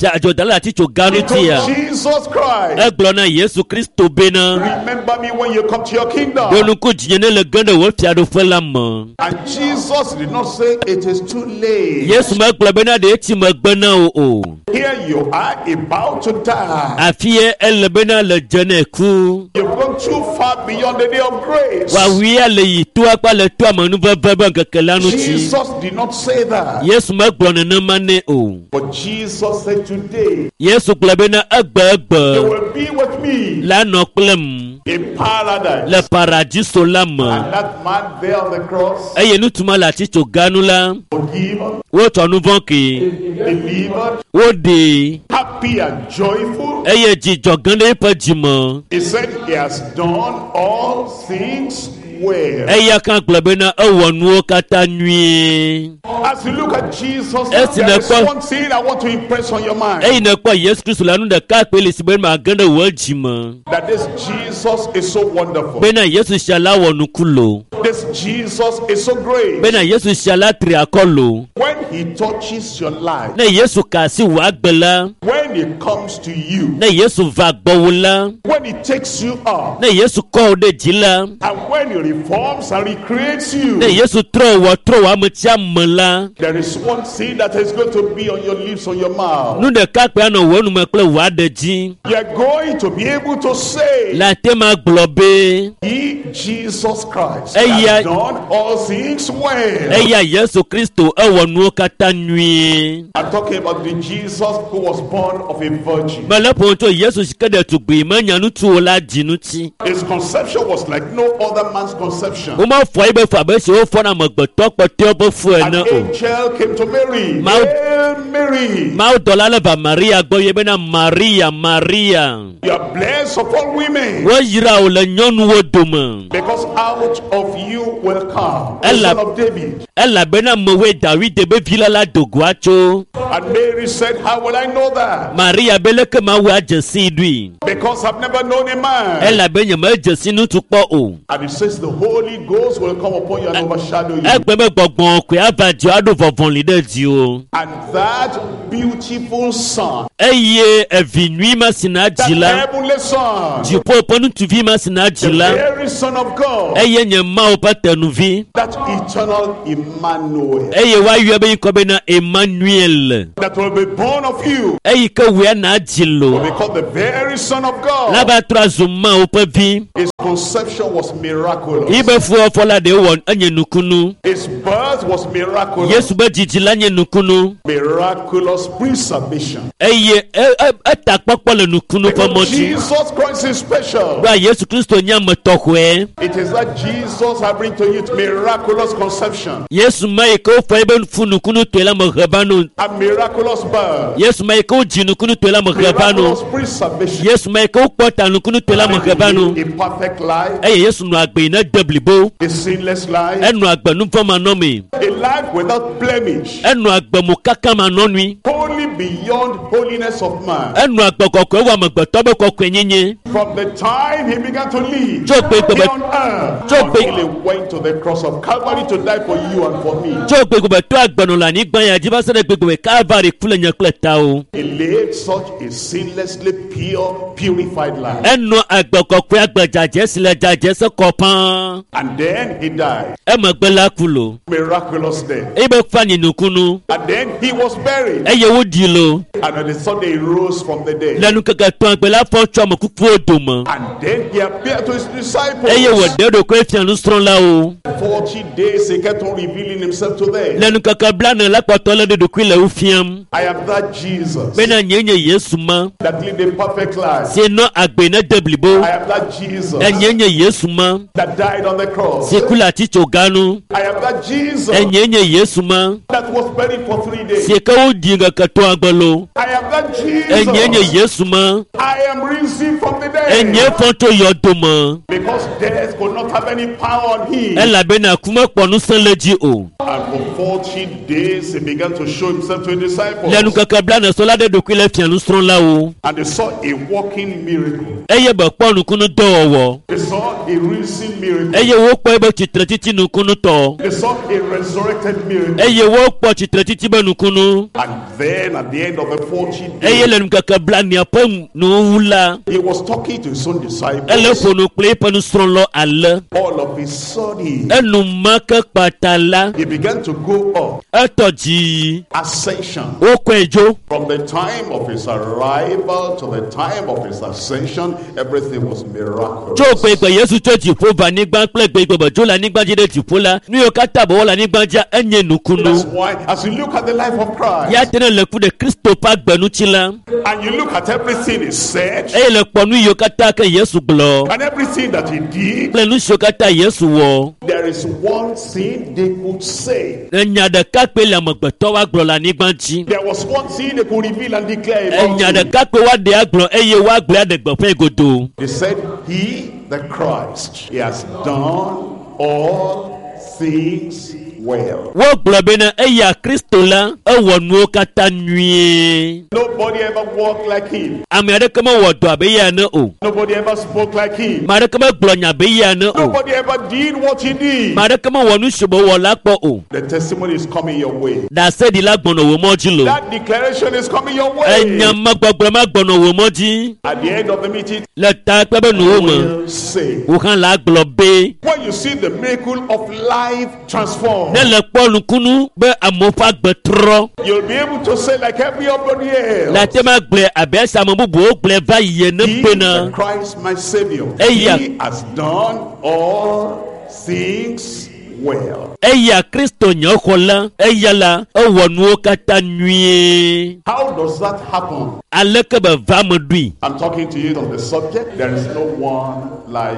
adzodala le atitsoga He ŋutia told Jesus Christ, egblɔ na Yesu Kristo bena Remember me when you come to your kingdom. ɖo ŋku dzinye ne le ge ɖe wò fiaɖuƒe la me And Jesus did not say it is too late. Yesu megblɔ bena ɖe etsi megbe na wò o Here you are about to die. afi ye ele bena le dze ne ku You've gone too far beyond the day of grace. wòawuia le yi to akpa le to amenuveve be ŋkeke la ŋuti Jesus did not say that. Yesu megblɔ nenema nɛ o But Jesus said, Today Yesu gblɔ bena egbe egbe you will be with me la nɔ kplem in paradise. le paradiso la me And that man there on the cross, eye nutuma le atitsoga nu la forgiven, wotsɔ nu vɔ̃ kee delivered, woɖee happy and joyful. eye dzidzɔ gã ɖe eƒe dzime He said he has done all things well. eya hã gblɔ bena ewɔ nuwo katã nyuie As you look at Jesus, Esi there is nekpɔ- one thing I want to impress on your mind. eyi nekpɔ Yesu Kristo la nu ɖeka kpe le si be mage ɖe wò dzime That this Jesus is so wonderful. bena Yesu sia la wɔ nuku lo This Jesus is so great. bena Yesu sia la tri akɔ lo When he touches your life, ne Yesu ka asi wò agbe la when When he comes to you, Ne Yesu va gbɔwò la, when he takes you up, ne Yesu kɔ wò ɖe dzi la, and when he reforms and recreates you, ne Yesu trɔ wò trɔ wò ame sia ame la, there is one thing that is going to be on your lips, on your mouth. nu ɖeka kpe anɔ wò nume kple wò aɖe dzi. You are going to be able to say, Le ate ma gblɔ be He, Jesus Christ, Eya- has done all things well. eya Yesu Kristo ewɔ nuwo katã nyuie. I'm talking about the Jesus who was born of a virgin. Mele ƒom tso Yesu si ke ɖetugbui menya ŋutsu o la dzi ŋuti. His conception was like no other man's conception. Womefɔ yi be fu abe si wofɔna amegbetɔ kpɔtɔewo ƒe fu An ene o. angel came to Mary. Mau- Hail Mary, Mawudɔla le va Maria gbɔ ye bena Maria, Maria, you are blessed of all women. woyra wò le nyɔnuwo dome Because out of you will come the Ella- son of David. elabena mewoe Dawide be vi la la do goa tso. And Mary said, How will I know that? Maria be leke mawu adze sii ɖui Because I've never known a man. elabe nyemedze si ŋutsu kpɔ o. And it says the Holy Ghost will come upon you and overshadow you. Egbe be gbɔgbɔ koe ava dziwò aɖo vɔvɔli ɖe dziwò. And that beautiful son, Eye evi nyui ma si na that dzi la, heavenly son, dziƒo ƒe ŋutsuvi ma si na dzi the la, very son of God, eye nye Mawu ƒe tenuvi. that eternal Emmanuel, Eye woayɔe be ŋkɔ bena Emmanuel. that will be born of you, Eyi ke wòe na dzi will lo. be called the very son of God. Lava trɔ azu Mawu ƒe vi. His conception was miraculous. Yi be fuwɔfɔ la ɖe wɔ enye nukunu. His birth was miraculous. Yesu be dzidzi la nye nukunu. Miraculous preservation. Eye e- e- etakpɔkpɔ le nukunu ƒe Because mɔ dzi. Jesus Christ is special. Ɖoa Yesu Kristo nye ame tɔxɔe. It is that Jesus I bring to you miraculous conception Yesu ma yi ke wofɔ ebe fu nukunutɔe la mehe va no. and miraculous birth, Yesu ma yi ke wodzi nukunutɔe la mehe va no. miraculous preservation. Yesu ma yi ke wokpɔ ta nukunutɔe la mehe va no. A perfect life, Eye Yesu nɔ agbe yi ne de blibo. a sinless life, Enɔ agbe nuvɔ̃manɔmee. a life without blemish, Enɔ agbe mokakamanɔnui. holy beyond holiness of man. Enɔ agbe kɔkɔe wɔ amegbetɔ be kɔkɔenyenye. From the time he began to live Tso gbe here gbe on earth Tso gbe- until he went to the cross of Calvary to die for you and for me. tso gbegbe to agbenɔ le anyigba ya dzi va se ɖe gbegbe Kalvari ku le nye kple tawo. He lived such a sinlessly pure, purified life. Enɔ agbe kɔkɔe agbe dzadzɛ si le dzadzɛ se kɔ pãa. And then he died. Emegbe la ku lo. Miraculous death. Eye be fa nyi nukunu. And then he was buried. Eye woɖi lo. And on the Sunday he rose from the dead. Le nukeke etɔ̃ gbe la fɔ tso ame kukuwo dome. And then he appeared to his disciples. Eye wòɖe eɖokui fia nusrɔ̃lawo. Forty days he kept on revealing himself to them. Le nukeke blane la kpɔtɔ le ɖoɖokui le wo fiam. I am that Jesus Bena nye nye Yesu ma that lived a perfect life. si nɔ agbe ne de blibo. I am that Jesus Enye nye Yesu ma that died on the cross. si ku le atitsoga nu. I am that Jesus Enye nye Yesu ma that was buried for three days. si ke woɖi ŋkeke etɔ̃a gbe lo. I am that Enye nye Jesus. Yesu ma I am risen from the dead. enye fɔ tso yɔdome. Because death could not have any power on him. Elabena ku mekpɔ ŋusẽ le dzi o. And for forty days he began to show himself to his disciples. Le nukeke blane sɔ la ɖe ɖokui le fia nusrɔ̃lawo. And they saw a working miracle. Eye be kpɔ nukunu dɔwɔwɔ. They saw a risen miracle. Eye wokpɔ ebe tsitretiti nukunutɔ. They saw a resurrected miracle. Eye wokpɔ tsitretiti be nukunu. And then at the end of the forty Eye days, le nukeke blanea ƒe nuwuwu la, he was talking to his own ele disciples. ƒo nu kple eƒe nusrɔ̃lawo ale. All of a sudden, Enumake kpata la, he began to go up. etɔ dzi. Ascension. Wokɔe dzo. From the time of his arrival to the time of his ascension, everything was miraculous. Tso gbegbe Yesu tso dziƒo va anyigba kple gbegbe be dzo le anyigba dzi ɖe dziƒo la, nu yiwo katã be wɔ le anyigba dzia enye That's nukunu. why, as you look at the life of Christ Ya te ne le ku ɖe Kristo ƒe agbe ŋuti la, and you look at everything he said eye le kpɔ nu yiwo katã ke Yesu gblɔ and everything that he did, kple nu siwo katã Yesu wɔ. there is one thing they could say. Enya ɖeka kpe le amegbetɔ woagblɔ le anyigba dzi. There was one thing they could reveal and declare about Enya him. ɖeka kpe woaɖe agblɔ eye woagblɔe aɖe gbeƒãe godoo. They said, He, the Christ, he has done all things well. Wogblɔ bena eya Kristo la ewɔ nuwo katã nyuie. Nobody ever walked like him. Ame aɖeke mewɔ dɔ abe eya ene o. Nobody ever spoke like him. Ame aɖeke megblɔ nya abe eya ene o. Nobody ever did what he did. Ame aɖeke mewɔ nu si wòwɔ la kpɔ o. The testimony is coming your way. Ɖaseɖila gbɔnɔ wò mɔ dzi lo. That declaration is coming your way. Enya megbɔgblɔ ma gbɔnɔ wò mɔ dzi. At the end of the meeting, Le ta kpe be nuwo me. will say, Wò hã la gblɔ be. when you see the miracle of life transformed, Ne le kpɔ nukunu be amewo ƒe agbe trɔ. you'll be able to say like everybody Le else, ate ma gblɔe abe esi ame bubuwo gblɔe va yi ene He, bena. the Christ, my Savior, Eya. he has done all things well. Eya Kristo nye xɔ la, eya la ewɔ nuwo katã nyuie. How does that happen? Aleke be va me ɖui? I'm talking to you on the subject. There is no one like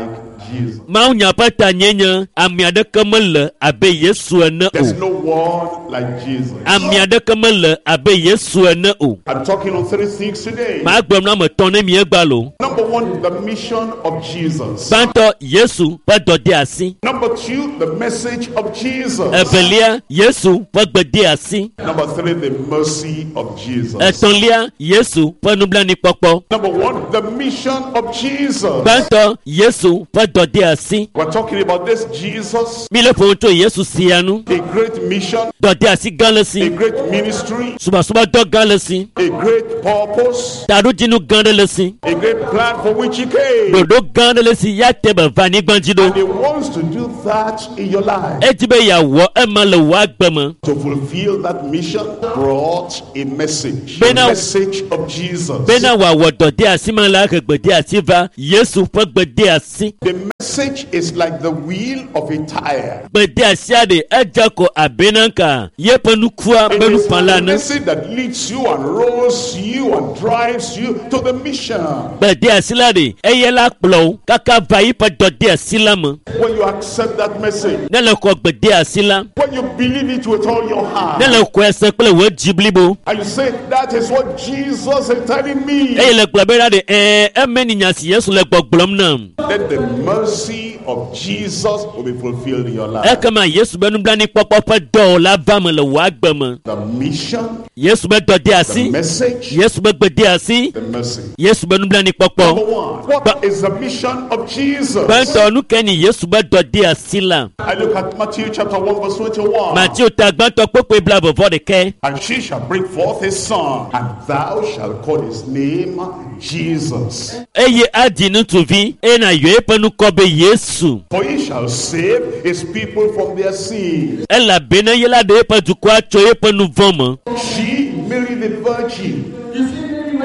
Jesus. Mawunya ƒe ta nye nye ame aɖeke mele abe Yesu ene There's o. no one like Jesus. Ame aɖeke mele abe Yesu ene o. I'm talking on three things today. Magblɔ nu ame etɔ̃ ne mi egba lo. Number one, the mission of Jesus. Gbãtɔ Yesu ƒe dɔdeasi. Number two, the message of Jesus. Evelia Yesu ƒe gbedeasi. Number three, the mercy of Jesus. Etɔ̃lia Yesu ƒe nublanuikpɔkpɔ. Number one, the mission of Jesus. Gbãtɔ Yesu ƒe dɔdeasi. We're talking about this Jesus, Mi le ƒo nu tso Yesu sia nu. a great mission, Dɔdeasi gã le a si. great ministry, Subɔsubɔdɔ gã le si. a great purpose, Taɖodzinu gã ɖe le si. a great plan for which he came. Ɖoɖo gã ɖe le si ya te be va anyigba dzi ɖo. And he wants to do that in your life. Edzi be yeawɔ ema le wò agbe me. To fulfill that mission brought a message. The Bena- message of Jesus. Bena wòawɔ dɔdeasi ma la he gbedeasi va Yesu ƒe gbedeasi. The message is like the wheel of a tire. Gbedeasia ɖe edze ko abe nanka yeƒe nukua It be is nufala the ene. message that leads you and rolls you and drives you to the mission. Gbedeasi la ɖe eye la kplɔ wo kaka va yiƒe dɔdeasi la me. When you accept that message, Ne le xɔ gbedeasi la, when you believe it with all your heart, ne le xɔe se kple wò dzi blibo and you say, That is what Jesus is telling me, eye le gblɔ be la ɖe ɛɛ eme ni nya si Yesu le gbɔgblɔm nam. then the mercy of Jesus will be fulfilled in your life. Ekema Yesu be nublanuikpɔkpɔ ƒe dɔwɔ la va me le wò agbe me. The mission, Yesu be the dɔdeasi, message, Yesu be gbedeasi, the mercy. Yesu be nublanuikpɔkpɔ. Number one, what is the mission of Jesus? Gbãtɔ nu ke ni Yesu be dɔdeasi la. I look at Matthew chapter one, verse twenty-one. Mateo ta gbãtɔ kpokpoe blaeve vɔ ɖekɛ. And she shall bring forth a son, and thou shalt call his name Jesus. Eye adi ŋutsuvi eye nàyɔ eƒe ŋkɔ be Yesu. For he shall save his people from their sins. Elabena ye la ɖe eƒe dukɔa tso eƒe nu vɔ̃ me. She, Mary the Virgin,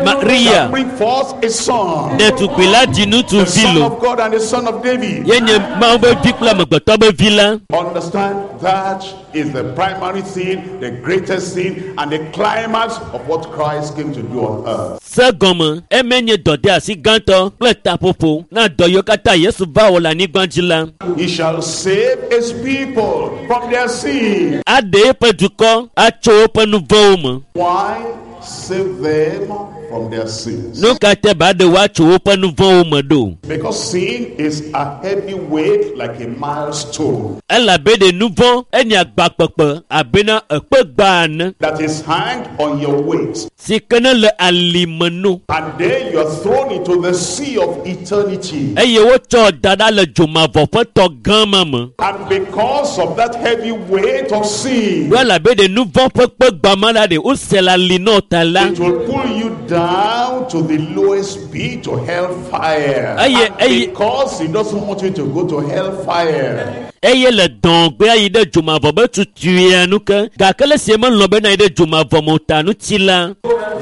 Maria shall bring forth a son, ɖetugbui la dzi the ŋutsuvi son lo. of God and the son of David. Ye nye Mawu be vi kple amegbetɔ be vi la. Understand that is the primary thing, the greatest thing, and the climax of what Christ came to do on earth. Se gɔme eme nye dɔdeasi gãtɔ kple taƒoƒo na dɔ yiwo katã Yesu va wɔ le anyigba dzi la. He shall save his people from their sin. Aɖe eƒe dukɔ atso woƒe nu vɔ̃wo me. Why save them from their sins? Nu ka te ba ɖe woatso woƒe nu vɔ̃wo me ɖo? Because sin is a heavy weight like a milestone Elabe ɖe nu vɔ̃ enye agbakpekpe abena ekpe gba ene that is hanged on your waist. si ke ne le alime nu And then you are thrown into the sea of eternity. eye wotsɔ da ɖa le dzomavɔ ƒe tɔ gã ma me. And because of that heavy weight of sin, Ɖo elabe ɖe nu vɔ̃ ƒe kpe gba ma la ɖe wose le ali nɔ ta la. it will pull you down to the lowest pit to hellfire. Aye, And aye. because he doesn't want you to go to hellfire, eye le dɔngbea yi ɖe dzomavɔ be tutuia nu ke gake le sie melɔ̃ bena yi ɖe dzomavɔ me o ta ŋuti la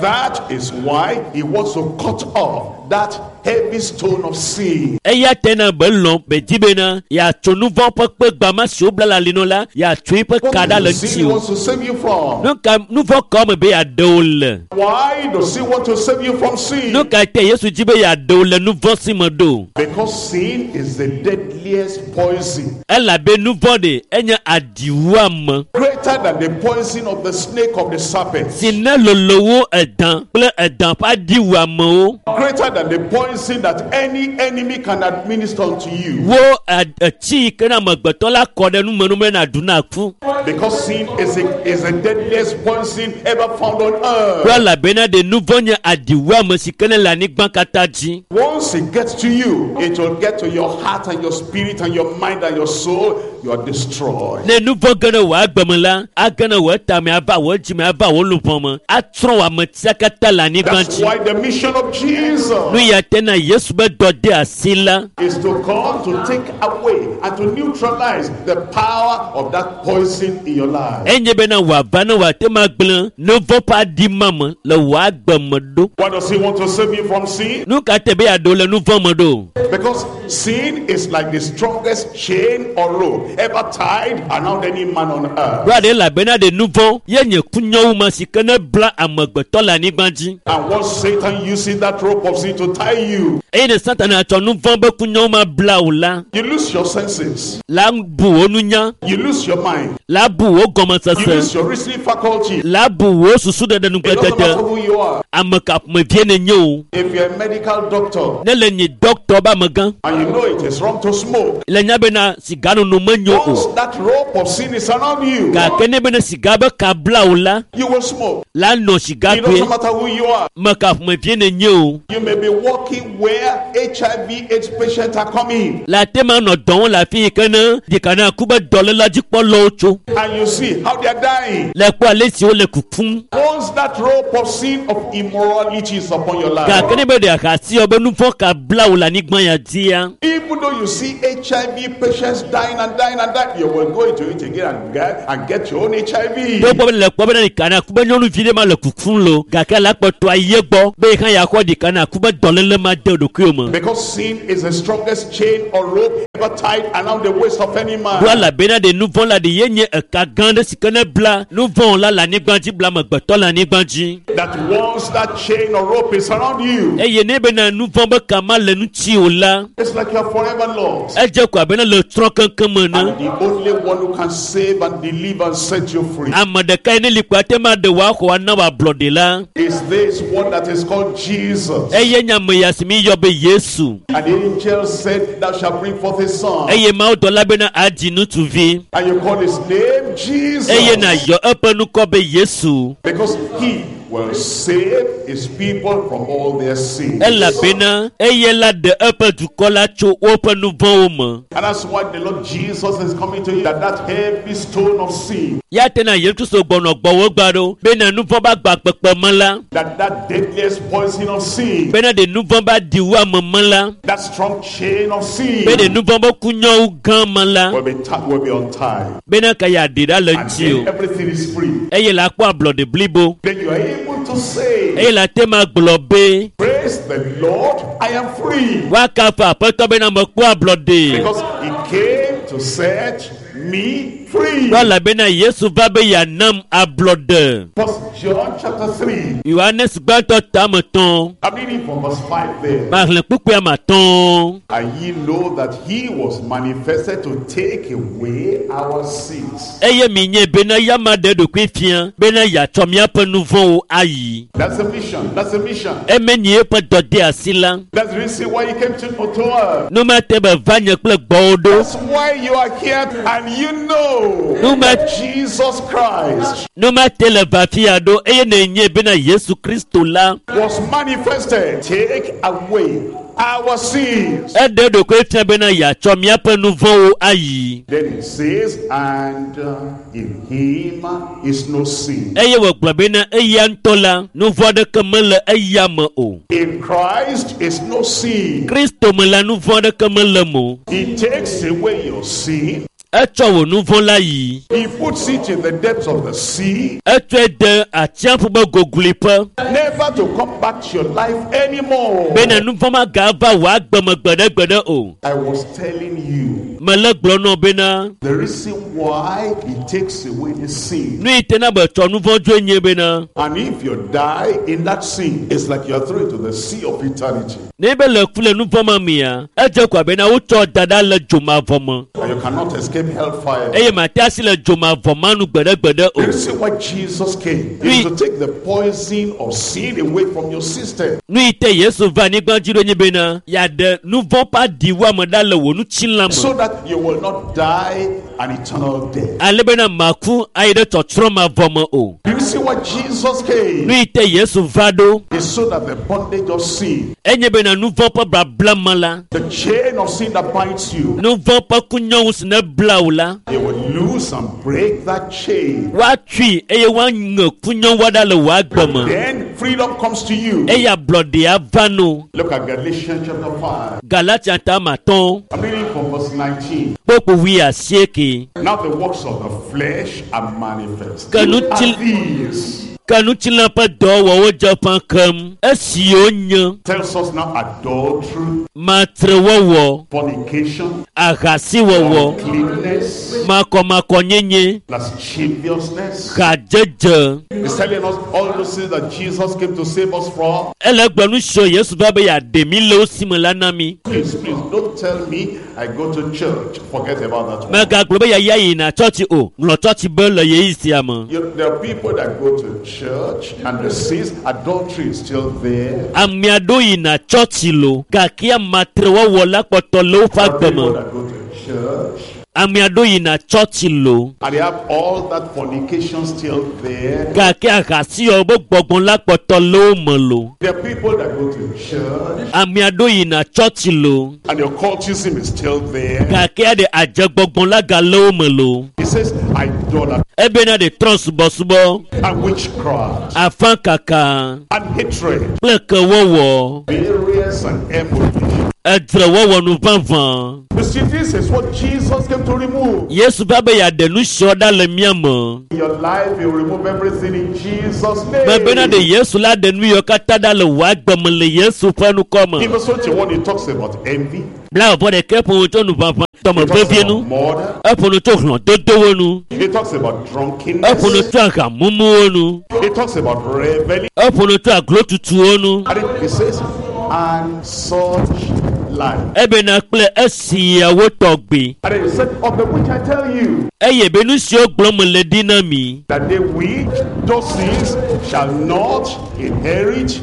that is why he wants to cut off that heavy stone of sin. eya tena be lɔ̃ be di bena yeatso nu vɔ̃ ƒe kpe gbama si wobla le ali nɔ la yeatso eƒe What ka ɖa le is the sin he ŋuti o wants to save you from? nu ka nu vɔ̃ kawo me be yeaɖe wo le Why does he want to save you from sin? nu ka te Yesu dzi be yeaɖe wo le nu vɔ̃ si me ɖo Because sin is the deadliest poison. Elabe nu vɔ̃ ɖe enye adiwuame Greater than the poison of the snake of the serpent. si ne lolo wu edã kple edã ƒe adiwuamewo Greater than the poison that any enemy can administer unto you. wo ɛ- etsi yi ke na amegbetɔ la kɔ ɖe numenum na ɖu na ku Because sin is a, is the deadliest poison ever found on kple earth. elabena ɖe nu vɔ̃ nye adiwuame si ke ne le anyigba katã dzi Once it gets to you, it will get to your heart and your spirit and your mind and your soul. You are destroyed. ne nu vɔ̃ ge ɖe wò agbe me la age ɖe wò tame ava wò dzime ava wò luʋɔ me atsrɔ̃ wò ametia katã le anyigba That's dzi why the mission of Jesus nu ya te na yesu be dɔ de asi la is to come to take away and to neutralize the power of that poison in your life. enye bena wòava ne wòate ma gblẽ nu vɔ̃ ƒe aɖi ma me le wò agbe me ɖo Why does he want to save you from sin? nu ka te be yeaɖo le nu vɔ̃ me ɖo Because sin is like the strongest chain or rope ever tied around any man on earth. ɖoa ɖe elabena ɖe nu vɔ̃ ye nye kunyawu ma si ke ne bla amegbetɔ le anyigba dzi And once Satan uses that rope of sin to tie you, eye ne satana tsɔ nu vɔ̃ be kunyawu ma bla wò la you lose your senses, la bu wò nunya you lose your mind, la bu wò you gɔmesese lose your reasoning faculty. la bu wò susuɖeɖe It doesn't matter nugblẽdede who you are. ame ka ƒomevie nenye o If you're a medical doctor ne le nyi dɔkitɔ be amegã and you know it is wrong to smoke, le nya bena siganono menyo once o that rope of sin is around you, gake ne bena siga be ka bla wò la you will smoke. la nɔ siga It koe doesn't matter who you are. me ka ƒomevie nenye o You may be working where H I V AIDS patients are coming, le ate ma nɔ dɔ wɔm le afi yi ke ne ɖeka na ku be dɔléla dzikpɔlawo tso and you see how they are dying. le kpɔ ale si wole kukum Once that rope of sin of immorality is upon your life, gake ne be ɖe ahasi wɔ be nu vɔ̃ ka bla wò le anyigba ya dzia even though you see H I V patients dying and dying and dying, you will go into it again and get, and get your own H I V. togbɔ be le kpɔ bena ɖeka na ku be nyɔnuvi ɖe ma le kukum lo gake la kpɔtɔ ayi egbɔ be yi hã yeaxɔ ɖeka na ku be dɔléle ma de ɖokuiwò me Because sin is the strongest chain or rope ever tied around the waist of any man. ɖo elabena ɖe nu vɔ̃ la ɖe ye nye eka gã ɖe si ke ne bla nu vɔ̃ la le anyigba dzi bla amegbetɔ le anyigba dzi That once that chain or rope is around you, eye ne bena nu vɔ̃ be ka ma le ŋuti o la it's like you're forever lost. Edze ko abe ne le trɔ keŋkeŋ me ne And the only one who can save and deliver and set you free ame ɖeka yi ne li kpo ate ma ɖe wò axɔ ana wò ablɔɖe la is this one that is called Jesus. eye nye ame ya si mi yɔ be yesu And the angel said, "Thou shalt bring forth a son." eye mawu dɔla bena adzi ŋutsuvi And you call his name Jesus. Eye nàyɔ eƒe ŋkɔ be yesu Because he will save his people from all their sins. Elabena eye la ɖe eƒe dukɔ la tso woƒe nu vɔ̃wo me And that's why the Lord Jesus is coming to you, that that heavy stone of sin, ya te na yesu kristu gbɔnɔ gbɔwò gba ɖo bena nu vɔ̃ ba gba kpekpe me la that that deadliest poison of sin, bena ɖe nu vɔ̃ ba ɖi wu ame me la that strong chain of sin, be ɖe nu vɔ̃ be kunyɔwo gã me la will be, ti- will be untied. Bena ka ya ɖi ɖa le And ŋuti o then everything is free. Eye la kpɔ ablɔɖe blibo Then you are able to say, eye la te ma gblɔ be "Praise the Lord, I am free." woakafu aƒetɔ bena mekpɔ ablɔɖe Because he came to set me free. ɖo elabena yesu va be yeanam ablɔɖe First John chapter three. Yohanes gbãtɔ tame tɔn I'm reading from verse five there. maxlẽ kpukpui ame atɔ̃ And ye know that he was manifested to take away our sins. Eye minye bena yama ɖe ɖokui fia bena yeatsɔ míaƒe nu vɔ̃wo ayi That's a mission. That's a mission. eme nyi eƒe dɔdeasi la That's the reason why he came to, to earth. nu ma te be va nye kple gbɔwò ɖo That's why you are here and you know No ma- that Jesus Christ nu ma te le va fia ɖo eye nenye bena yesu kristo la was manifested. Take away our sins. Eɖe ɖokui fia bena yeatsɔ míaƒe nu vɔ̃wo ayi Then it says, and uh, in him is no sin. Eye wògblɔ bena eya ŋutɔ la nu vɔ̃ aɖeke mele eya me o In Christ is no sin. Kristo me la nu vɔ̃ aɖeke mele me o He takes away your sin. Etsɔ wò nu vɔ̃ la yi He puts it in the depths of the sea, etsɔe de atsiaƒu be gogloeƒe never to come back to your life anymore. Bena nu vɔ̃ magava wò agbe me gbeɖegbeɖe o I was telling you mele gblɔ nɔ bena the reason why he takes away the sin. Nu yi te na be tsɔ nu vɔ̃ dzoe nye bena And if you die in that sin, it's like you are thrown into the sea of eternity. Ne be le ku le nu vɔ̃ ma mea edze ko abena wotsɔ da ɖa le dzomavɔ me And you cannot escape escape hellfire. Eye mate asi le dzomavɔ ma nu gbeɖegbeɖe o. You see why Jesus came? Oui. Is to take the poison of sin away from your system. Nu yi te Yesu va anyigba dzi ɖo nye bena yeaɖe nu vɔ̃ ƒe aɖiwuame ɖa le wò ŋutilã me. So that you will not die an eternal death. Ale bena maku ayi ɖe tsɔtsrɔ̃ mavɔ me o. Do you see why Jesus Nu came? yi te Yesu va ɖo Is so that the bondage of sin, enye bena nu vɔ̃ ƒe babla me la, the chain of sin that binds you, nu vɔ̃ ƒe kunyɔŋu si ne bla wò la, you will loose and break that chain. woatui eye woaŋe kunyɔŋua ɖa le wò agbe me. Then freedom comes to you. Eye ablɔɖea va no. Look at Galatians chapter five. Galatia ta ame atɔ̃ I'm reading from verse nineteen. kpokpo wui asieke. Now the works of the flesh are manifest. Ke nu Are ti- these. Ke ŋutilã ƒe dɔwɔwɔwo dze ƒã keŋ. Esiwo nye Tells us now adultery, matrewɔwɔ, fornication, ahasiwɔwɔ, uncleanness, makɔmakɔnyenye, lasciviousness. hadzedze. He's telling us all those things that Jesus came to save us from. Ele gblɔ nu siwo Yesu va be yeaɖe mí le wo si me la na mí. Please, please don't tell me I go to church. Forget about that one. Megagblɔ be yeaya yina tsɔtsi o. Ŋlɔ tsɔtsi be le ɣeyiɣi sia me. You, there are people that go to church and the sins, adultery is still there. Ame aɖewo yina tsɔtsi lo gake amatrewɔwɔ la kpɔtɔ le woƒe There are agbe people me. that go to church Ame aɖewo yina tsɔtsi lo and they have all that fornication still there. gake ahasiwɔwɔ be gbɔgbɔ la kpɔtɔ le wo me lo. There are people that go to church Ame aɖewo yina tsɔtsi lo and the occultism is still there. gake aɖe adzegbɔgbɔ la gale wo me lo. He says idolatry Ebena ɖe trɔ subɔsubɔ, and witchcraft afãkaka and hatred, kple kewɔwɔ, various and enmity. edzrewɔwɔ nu vavã. You see, this is what Jesus came to remove. Yesu va be yeaɖe nu siawo ɖa le mía me. In your life, you remove everything in Jesus' Mebena ɖe name. Yesu la ɖe nu yiwo katã ɖa le wò agbe me le Yesu ƒe ŋkɔ In me. verse twenty-one, he talks about envy, Blaeve ɖekɛ ƒo nu tso nu vavã he talks dɔmevevie about nu. murder, Eƒo nu tso hlɔ̃dodowo nu. he talks about Eƒo nu drunkenness, tso ahamumuwo nu. he talks about reveling. Eƒo nu tso aglotutuwo nu. And he says, and such like. Ebena kple esiawo tɔgbi. And then he said, of the which I tell you, Eye be nu siwo gblɔm mele ɖi na mi. that they which do sins shall not inherit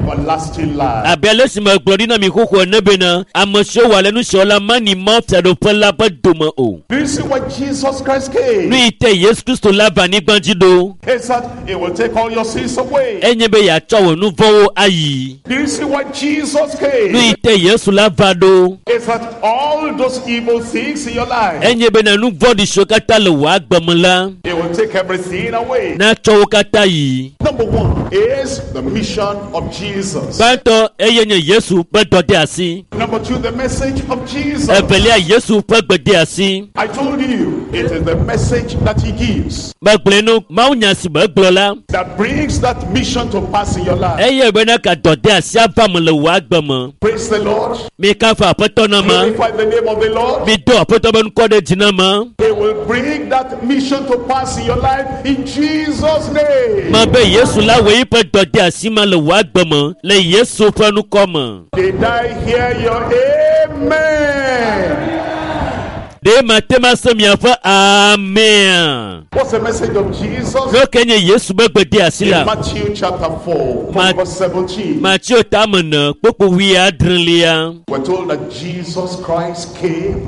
everlasting life. Abe ale si megblɔ ɖi na mi xoxo ene bena ame siwo wɔ ale nu siawo la mani Mawu fiaɖuƒe la ƒe dome o. Do you see why Jesus Christ Nu came? yi te Yesu Kristo la va anyigba dzi ɖo. Is that he will take all your sins away. Enye be yeatsɔ wò nu vɔ̃wo ayi. Do you see why Jesus Nu yi came? te Yesu la va ɖo. Is that all those evil things in your life, Enye bena nu vɔ̃ɖi siwo katã le wò agbe me la he will take everything away. natsɔ wo katã yi. Number one is the mission of Jesus. Gbãtɔ eye nye Yesu ƒe dɔdeasi. Number two, the message of Jesus. Evelia Yesu ƒe gbedeasi. I told you, it is the message that he gives Megblɔe nu mawunya si megblɔ la that brings that mission to pass in your life. eye bena ka dɔdeasi ava me le wò agbe me. Praise the Lord. Mi kafu aƒetɔ na ma. Glorify the name of the Lord. Mi do aƒetɔ be ŋkɔ ɖe dzi na ma. He will bring that mission to pass in your life in Jesus' name. Ma be Yesu la wɔ eƒe dɔdeasi ma le wò agbe me le Yesu ƒe ŋkɔ me. Did I hear your amen? Ɖe mate ma se miaƒe amea. What's the message of Jesus? Nu ke nye Yesu be gbedeasi In la. Matthew chapter four, from Ma- verse seventeen, Mateo tame ne kpokpo wuiadrelia. we're told that Jesus Christ came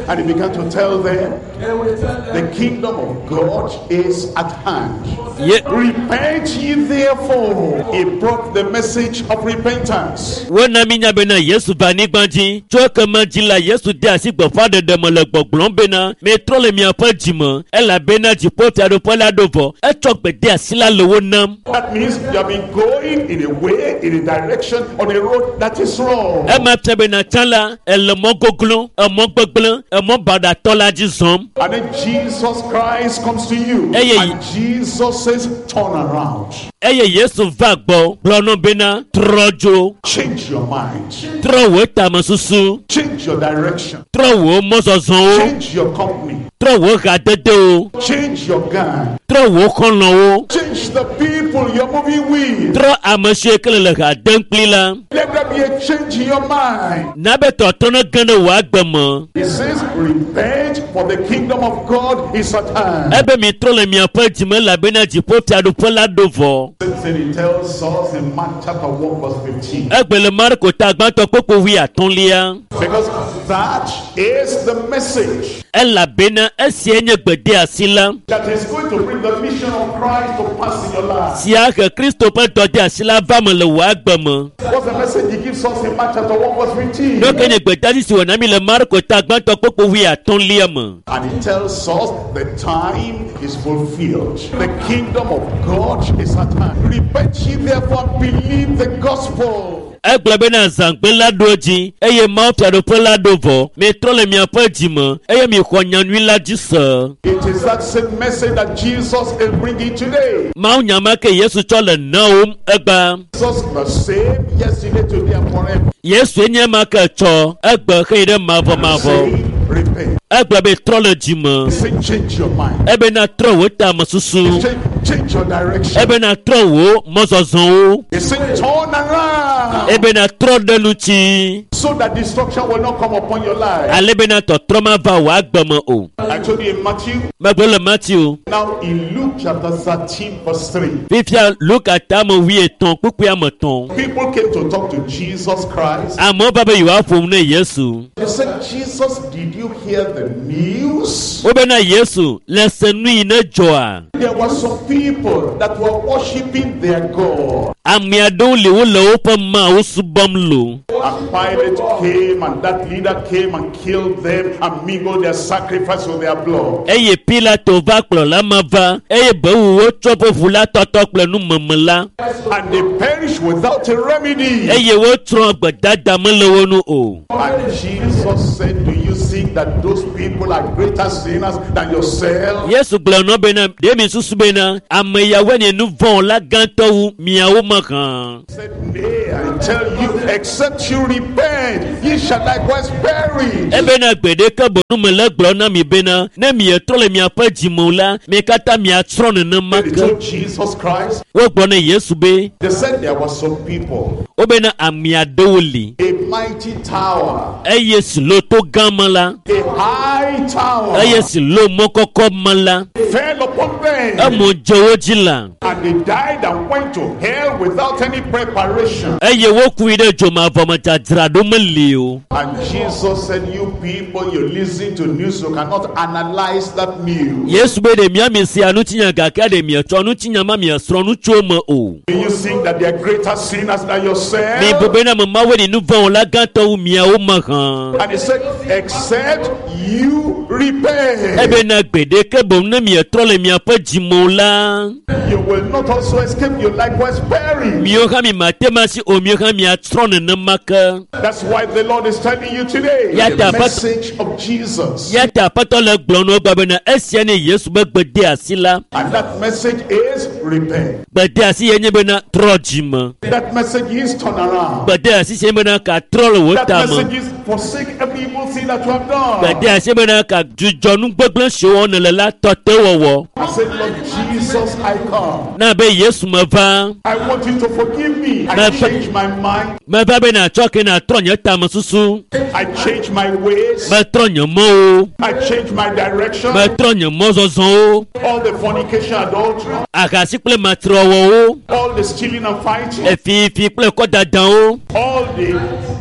and he began to tell them the kingdom of God is at hand. Ye Repent ye therefore. He brought the message of repentance. wona mi nya bena Yesu va anyigba dzi. Tso ekema dzi la Yesu de asi gbeƒãɖeɖe me le gbɔgblɔm bena mitrɔ le miaƒe dzime elabena dziƒofiaɖuƒe la ɖo vɔ. Etsɔ gbedeasi la le wo nam. That means you have been going in a way, in a direction, on a road that is wrong. Ema fia bena tsã la ele mɔ goglo, emɔ gbegblẽ, emɔ baɖatɔ la dzi zɔm. And then Jesus Christ comes to you. Hey, hey. And Jesus says, turn around. Eye Yesu va gbɔ gblɔ nɔ bena trɔ dzo, Change your mind. trɔ wò tamesusu, Change your direction. trɔ wò mɔzɔzɔwo, Change your company. trɔ wò hadedewo, Change your gang. trɔ wò xɔlɔ̃wo, Change the people you're moving moving with. Trɔ ame si ke le le ha dem kpli la. Let there be a change in your mind. Na be tɔtrɔ ne ge ɖe wò agbe me. He says, repent, for the kingdom of God is at hand. Ebe mitrɔ le miaƒe dzime elabena dziƒofiaɖuƒe la ɖo vɔ. Same thing he tells us in Mark chapter one verse fifteen. Egbe le Marko ta gbãtɔ kpokpo wuiatɔ̃lia. Because that is the message Elabena esia nye gbedeasi la. that is going to bring the mission of Christ to pass in your life. Sia he Kristo ƒe dɔdeasi la va me le wò agbe me. What's the message he gives us in Mark chapter one verse fifteen? Nu ke nye gbedeasi si wòna mi le Marko ta gbãtɔ kpokpo wuiatɔ̃lia me. And he tells us the time is fulfilled. The kingdom of God is at hand. Repent ye therefore and believe the gospel. Egblɔ bena zãgbe la ɖo edzi eye Mawu fiaɖuƒe la ɖo vɔ. Mitrɔ le miaƒe dzime eye mixɔ nyanyui la dzi se. It is that same message that Jesus is bringing today. Mawu nya ma ke Yesu tsɔ le nawòm egbea. Jesus the same yesterday, today, and forever. Yesu nye ma ke tsɔ egbe xeyi ɖe mavɔmavɔ. Say, repent. Egblɔ be trɔ le dzime. Say, change your mind. Ebena trɔ wò tamesusu. Change, change your direction. Ebena trɔ wò mɔzɔzɔwo. He said, turn around Ebena trɔ ɖe ŋuti. so that destruction will not come upon your life. Ale bena tɔtrɔ ma va wò agbe me o. I told you in Matthew. Megblɔ le Matthew. Now in Luke chapter thirteen, verse three. Fifia Luka tame wuietɔ̃ kpukpui ame etɔ̃. People came to talk to Jesus Christ. Amewo va be yewoaƒo nu ne Yesu. They said, Jesus, did you hear the news? Wobena Yesu le se nu yi ne dzɔa. There were some people that were worshiping their God. Ame aɖewo li wole woƒe Mawu subɔm lo. And Pilate came and that leader came and killed them and mingled their sacrifice with their blood. Eye Pilato va kplɔla ma va eye bewu wotsɔ ƒe ʋu la tɔtɔ kple numeme la. And they perished without a remedy. Eye wotsrɔ̃ gbedada mele wo nu o. And Jesus said, do you think that those people are greater sinners than yourself? Yesu gblɔ nɔ bena ɖe mi susu bena ame yawoe nye nu vɔ̃ la gãtɔ wu miawo me hã. He said, nay, I tell you, except you repent, ye shall likewise perish. Ebena gbe ɖeke bonu me le gblɔ na mi bena ne mietrɔ le miaƒe dzime o la mi katã miatsrɔ̃ nenema They ke. told Jesus Christ, Wogblɔ ne Yesu be they said there were some people, wobena ame aɖewo li a mighty tower, eye si lo to gã me la a high tower, eye si lo mɔ kɔkɔ me la fell upon them. emo dze wo dzi la And they died and went to hell without any preparation. eye wokui ɖe dzomavɔ me dzadzraɖo meli o. And Jesus said, you people, you listen to news, you cannot analyze that news. Yesu be ɖe mia mi sia ŋutinya gake ɖe mietsɔ ŋutinya ma miesrɔ̃ nu tso eme o. Do you think that they are greater sinners than yourself? Mi bu bena ame mawoe nye nu vɔ̃ la gãtɔ wu miawo me hã. And he said, except you repent, Ebena gbe ɖeke boŋ ne mietrɔ le miaƒe dzime o la, you will not also escape, you likewise perish. miawo hã mi mate ma si o, miawo hã miatsrɔ̃ nenema ke. That's why the Lord is telling you today Ya the ta pat- message of Jesus. Ya ta Aƒetɔ le gblɔm na wo gba bena esia nye Yesu be gbedeasi la. And that message is repent. Gbedeasi ye nye bena trɔ dzime. That message is turn around. Gbedeasi sie nye bena ka trɔ le wò That tame. message is forsake every evil thing that you have done. Gbedeasi ye bena ka dzudzɔ nu gbegblẽ siwo wɔm nèle la tɔ te wɔwɔ. I said, Lord Jesus, I come. Na be Yesu meva, I want you to forgive me. I Ma- change my mind. meva be nàtsɔ ke nàtrɔ nye tamesusu. I change my ways. Metrɔ nye mɔwo. I change my direction. Metrɔ nye mɔzɔzɔwo. All the fornication, adultery, Ahasi kple matrewɔwɔwo. all the stealing and fighting, Efifi kple kɔdadawo. all the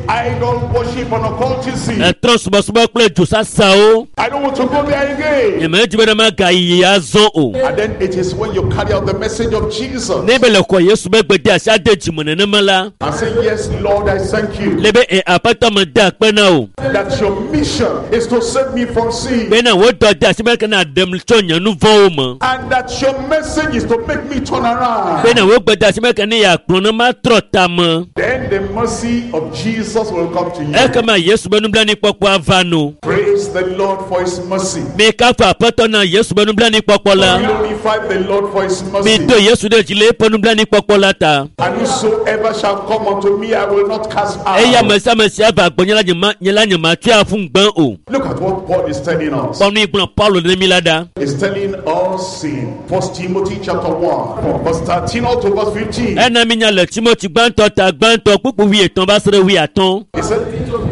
idol worship and occultism. Etrɔ subɔsubɔ kple dzosasawo. I don't want to go there again. Nyemedi be ne magayi azɔ o. And then it is when you carry out the message of Jesus Ne be le xɔ Yesu be gbedeasi ade dzime nenema la, and say, yes, Lord, I thank you le be e Aƒetɔ mede akpe na wò. that your mission is to save me from sin Bena wò dɔdeasi be ke nàɖem tso nye nu vɔ̃wo me. and that your message is to make me turn around. Bena wò gbedeasi be ke ne yeakplɔ ne matrɔ tame. Then the mercy of Jesus will come to you. Ekema Yesu be nublanuikpɔkpɔ ava no. Praise Praise the Lord for his mercy. Mi kafu aƒetɔ na Yesu be nublanuikpɔkpɔ la. Glorify the Lord for his Mi mercy. do Yesu ɖe dzi le eƒe nublanuikpɔkpɔ la ta. And whosoever shall come unto me, I will not cast Eya out. ame sia ame si ava gbɔnye la nye ma nye la nye ma tsɔe aƒu ŋugbe o. Look at what Paul is telling us. Kpɔ nu yi gblɔ Paulo ne mi la ɖa. He's telling us in First Timothy chapter one, from verse thirteen up to verse fifteen. Ena mi nya le Timothy gbãtɔ ta gbãtɔ kpukpu wuietɔ̃ va se ɖe wuiatɔ̃. He said,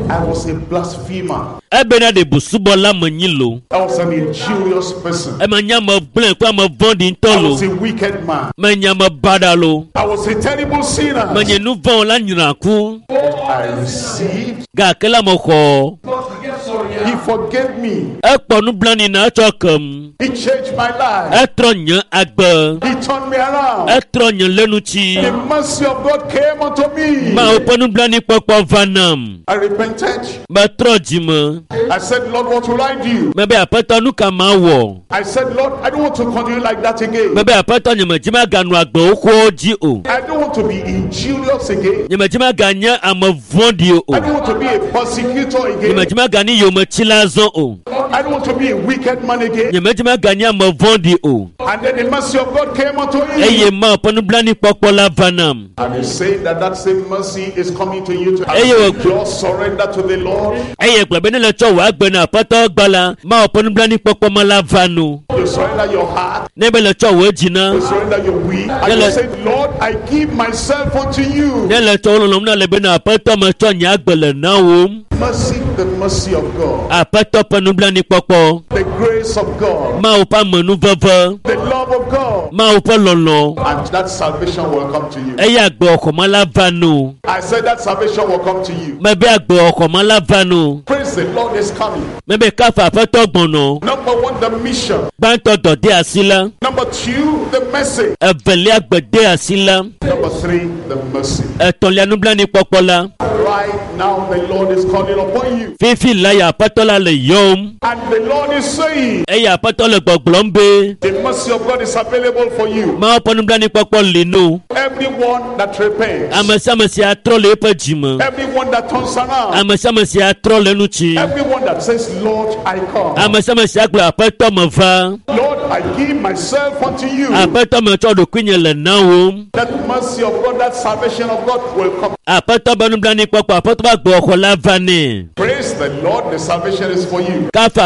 I was a blasphemer. Ebena ɖe busubɔla menyi lo. I was an injurious person. Ema nye ame gblẽ kple ame vɔ̃ɖi ŋutɔ I lo. was a wicked man. Menye ame baɖa lo. I was a terrible sinner. Menye nu vɔ̃ la nyra ku. I received. Gake la mexɔ. He forgave me. Ekpɔ nublanui na etsɔ kem. He changed my life. Etrɔ nye agbe. He turned me around. Etrɔ nye lenutsi. The mercy of God came unto me. Mawu ƒe nublanuikpɔkpɔ va nam. I repented. Metrɔ dzime. I said, Lord, what will I do? Mebe aƒetɔ nu ka mawɔ? I said, Lord, I don't want to continue like that again. Mebe aƒetɔ nye medzi maganɔ agbe xoxowo dzi o. I don't want to be injurious again. Nye medzi maganye ame vɔ̃ɖi o. I don't want to be a persecutor Nye again. medzi maganye yometsila azɔ o. I don't want to be a wicked man again. Nye medzi maganye ame vɔ̃ɖi o. And then the mercy of God came unto him. Eye Mawu ƒe nublanuikpɔkpɔ la va nam. And he's saying that that same mercy is coming to you to Eye wò- just surrender to the Lord. Eye gblɔ be ne le tsɔ wò agbe na aƒetɔ gba la, Mawu ƒe nublanuikpɔkpɔ ma la va nu. You surrender your heart. Ne be le tsɔ wò dzi na, You surrender your will. And you Yele- say, Lord, I give myself unto you. ne le tsɔ wò lɔlɔ̃nu na le be na aƒetɔ metsɔ nye agbe le na wòm. Mercy, the mercy of God. Aƒetɔ ƒe nublanuikpɔkpɔ, The grace of God. Mawu ƒe amenuveve, The love of God. Mawu ƒe lɔlɔ̃. And that salvation will come to you. Eye agbe xɔxɔma la va nu. I said that salvation will come to you. Mebe agbe xɔxɔma la va nu. Praise the Lord is coming. Mebe kafu aƒetɔ gbɔnɔ. Number one, the mission. Gbãtɔ dɔde asi la, Number two, the message. evelia gbede asi la, Number three, the mercy. etɔ̃lia nublanuikpɔkpɔ la. Right now, the Lord is calling upon you. Fifi la ya aƒetɔ la le yɔm. And the Lord is saying, Eye aƒetɔ le gbɔgblɔm be the mercy of God is available for you. Mawu ƒe nublanuikpɔkpɔ li nu. Everyone that repents, Ame sia ame si atrɔ le eƒe dzime. everyone that turns around, Ame sia ame si atrɔ le nutsi. everyone that says, Lord, I come. Ame sia ame si agblɔ aƒetɔ meva. Lord, I give myself unto you. Aƒetɔ metsɔ ɖokuinye le na wòm. That mercy of God, that salvation of God will come. Aƒetɔ be nublanuikpɔkpɔ, aƒetɔ be agbe xɔxɔ la va nɛ. Praise the Lord, the salvation is for you. Kafu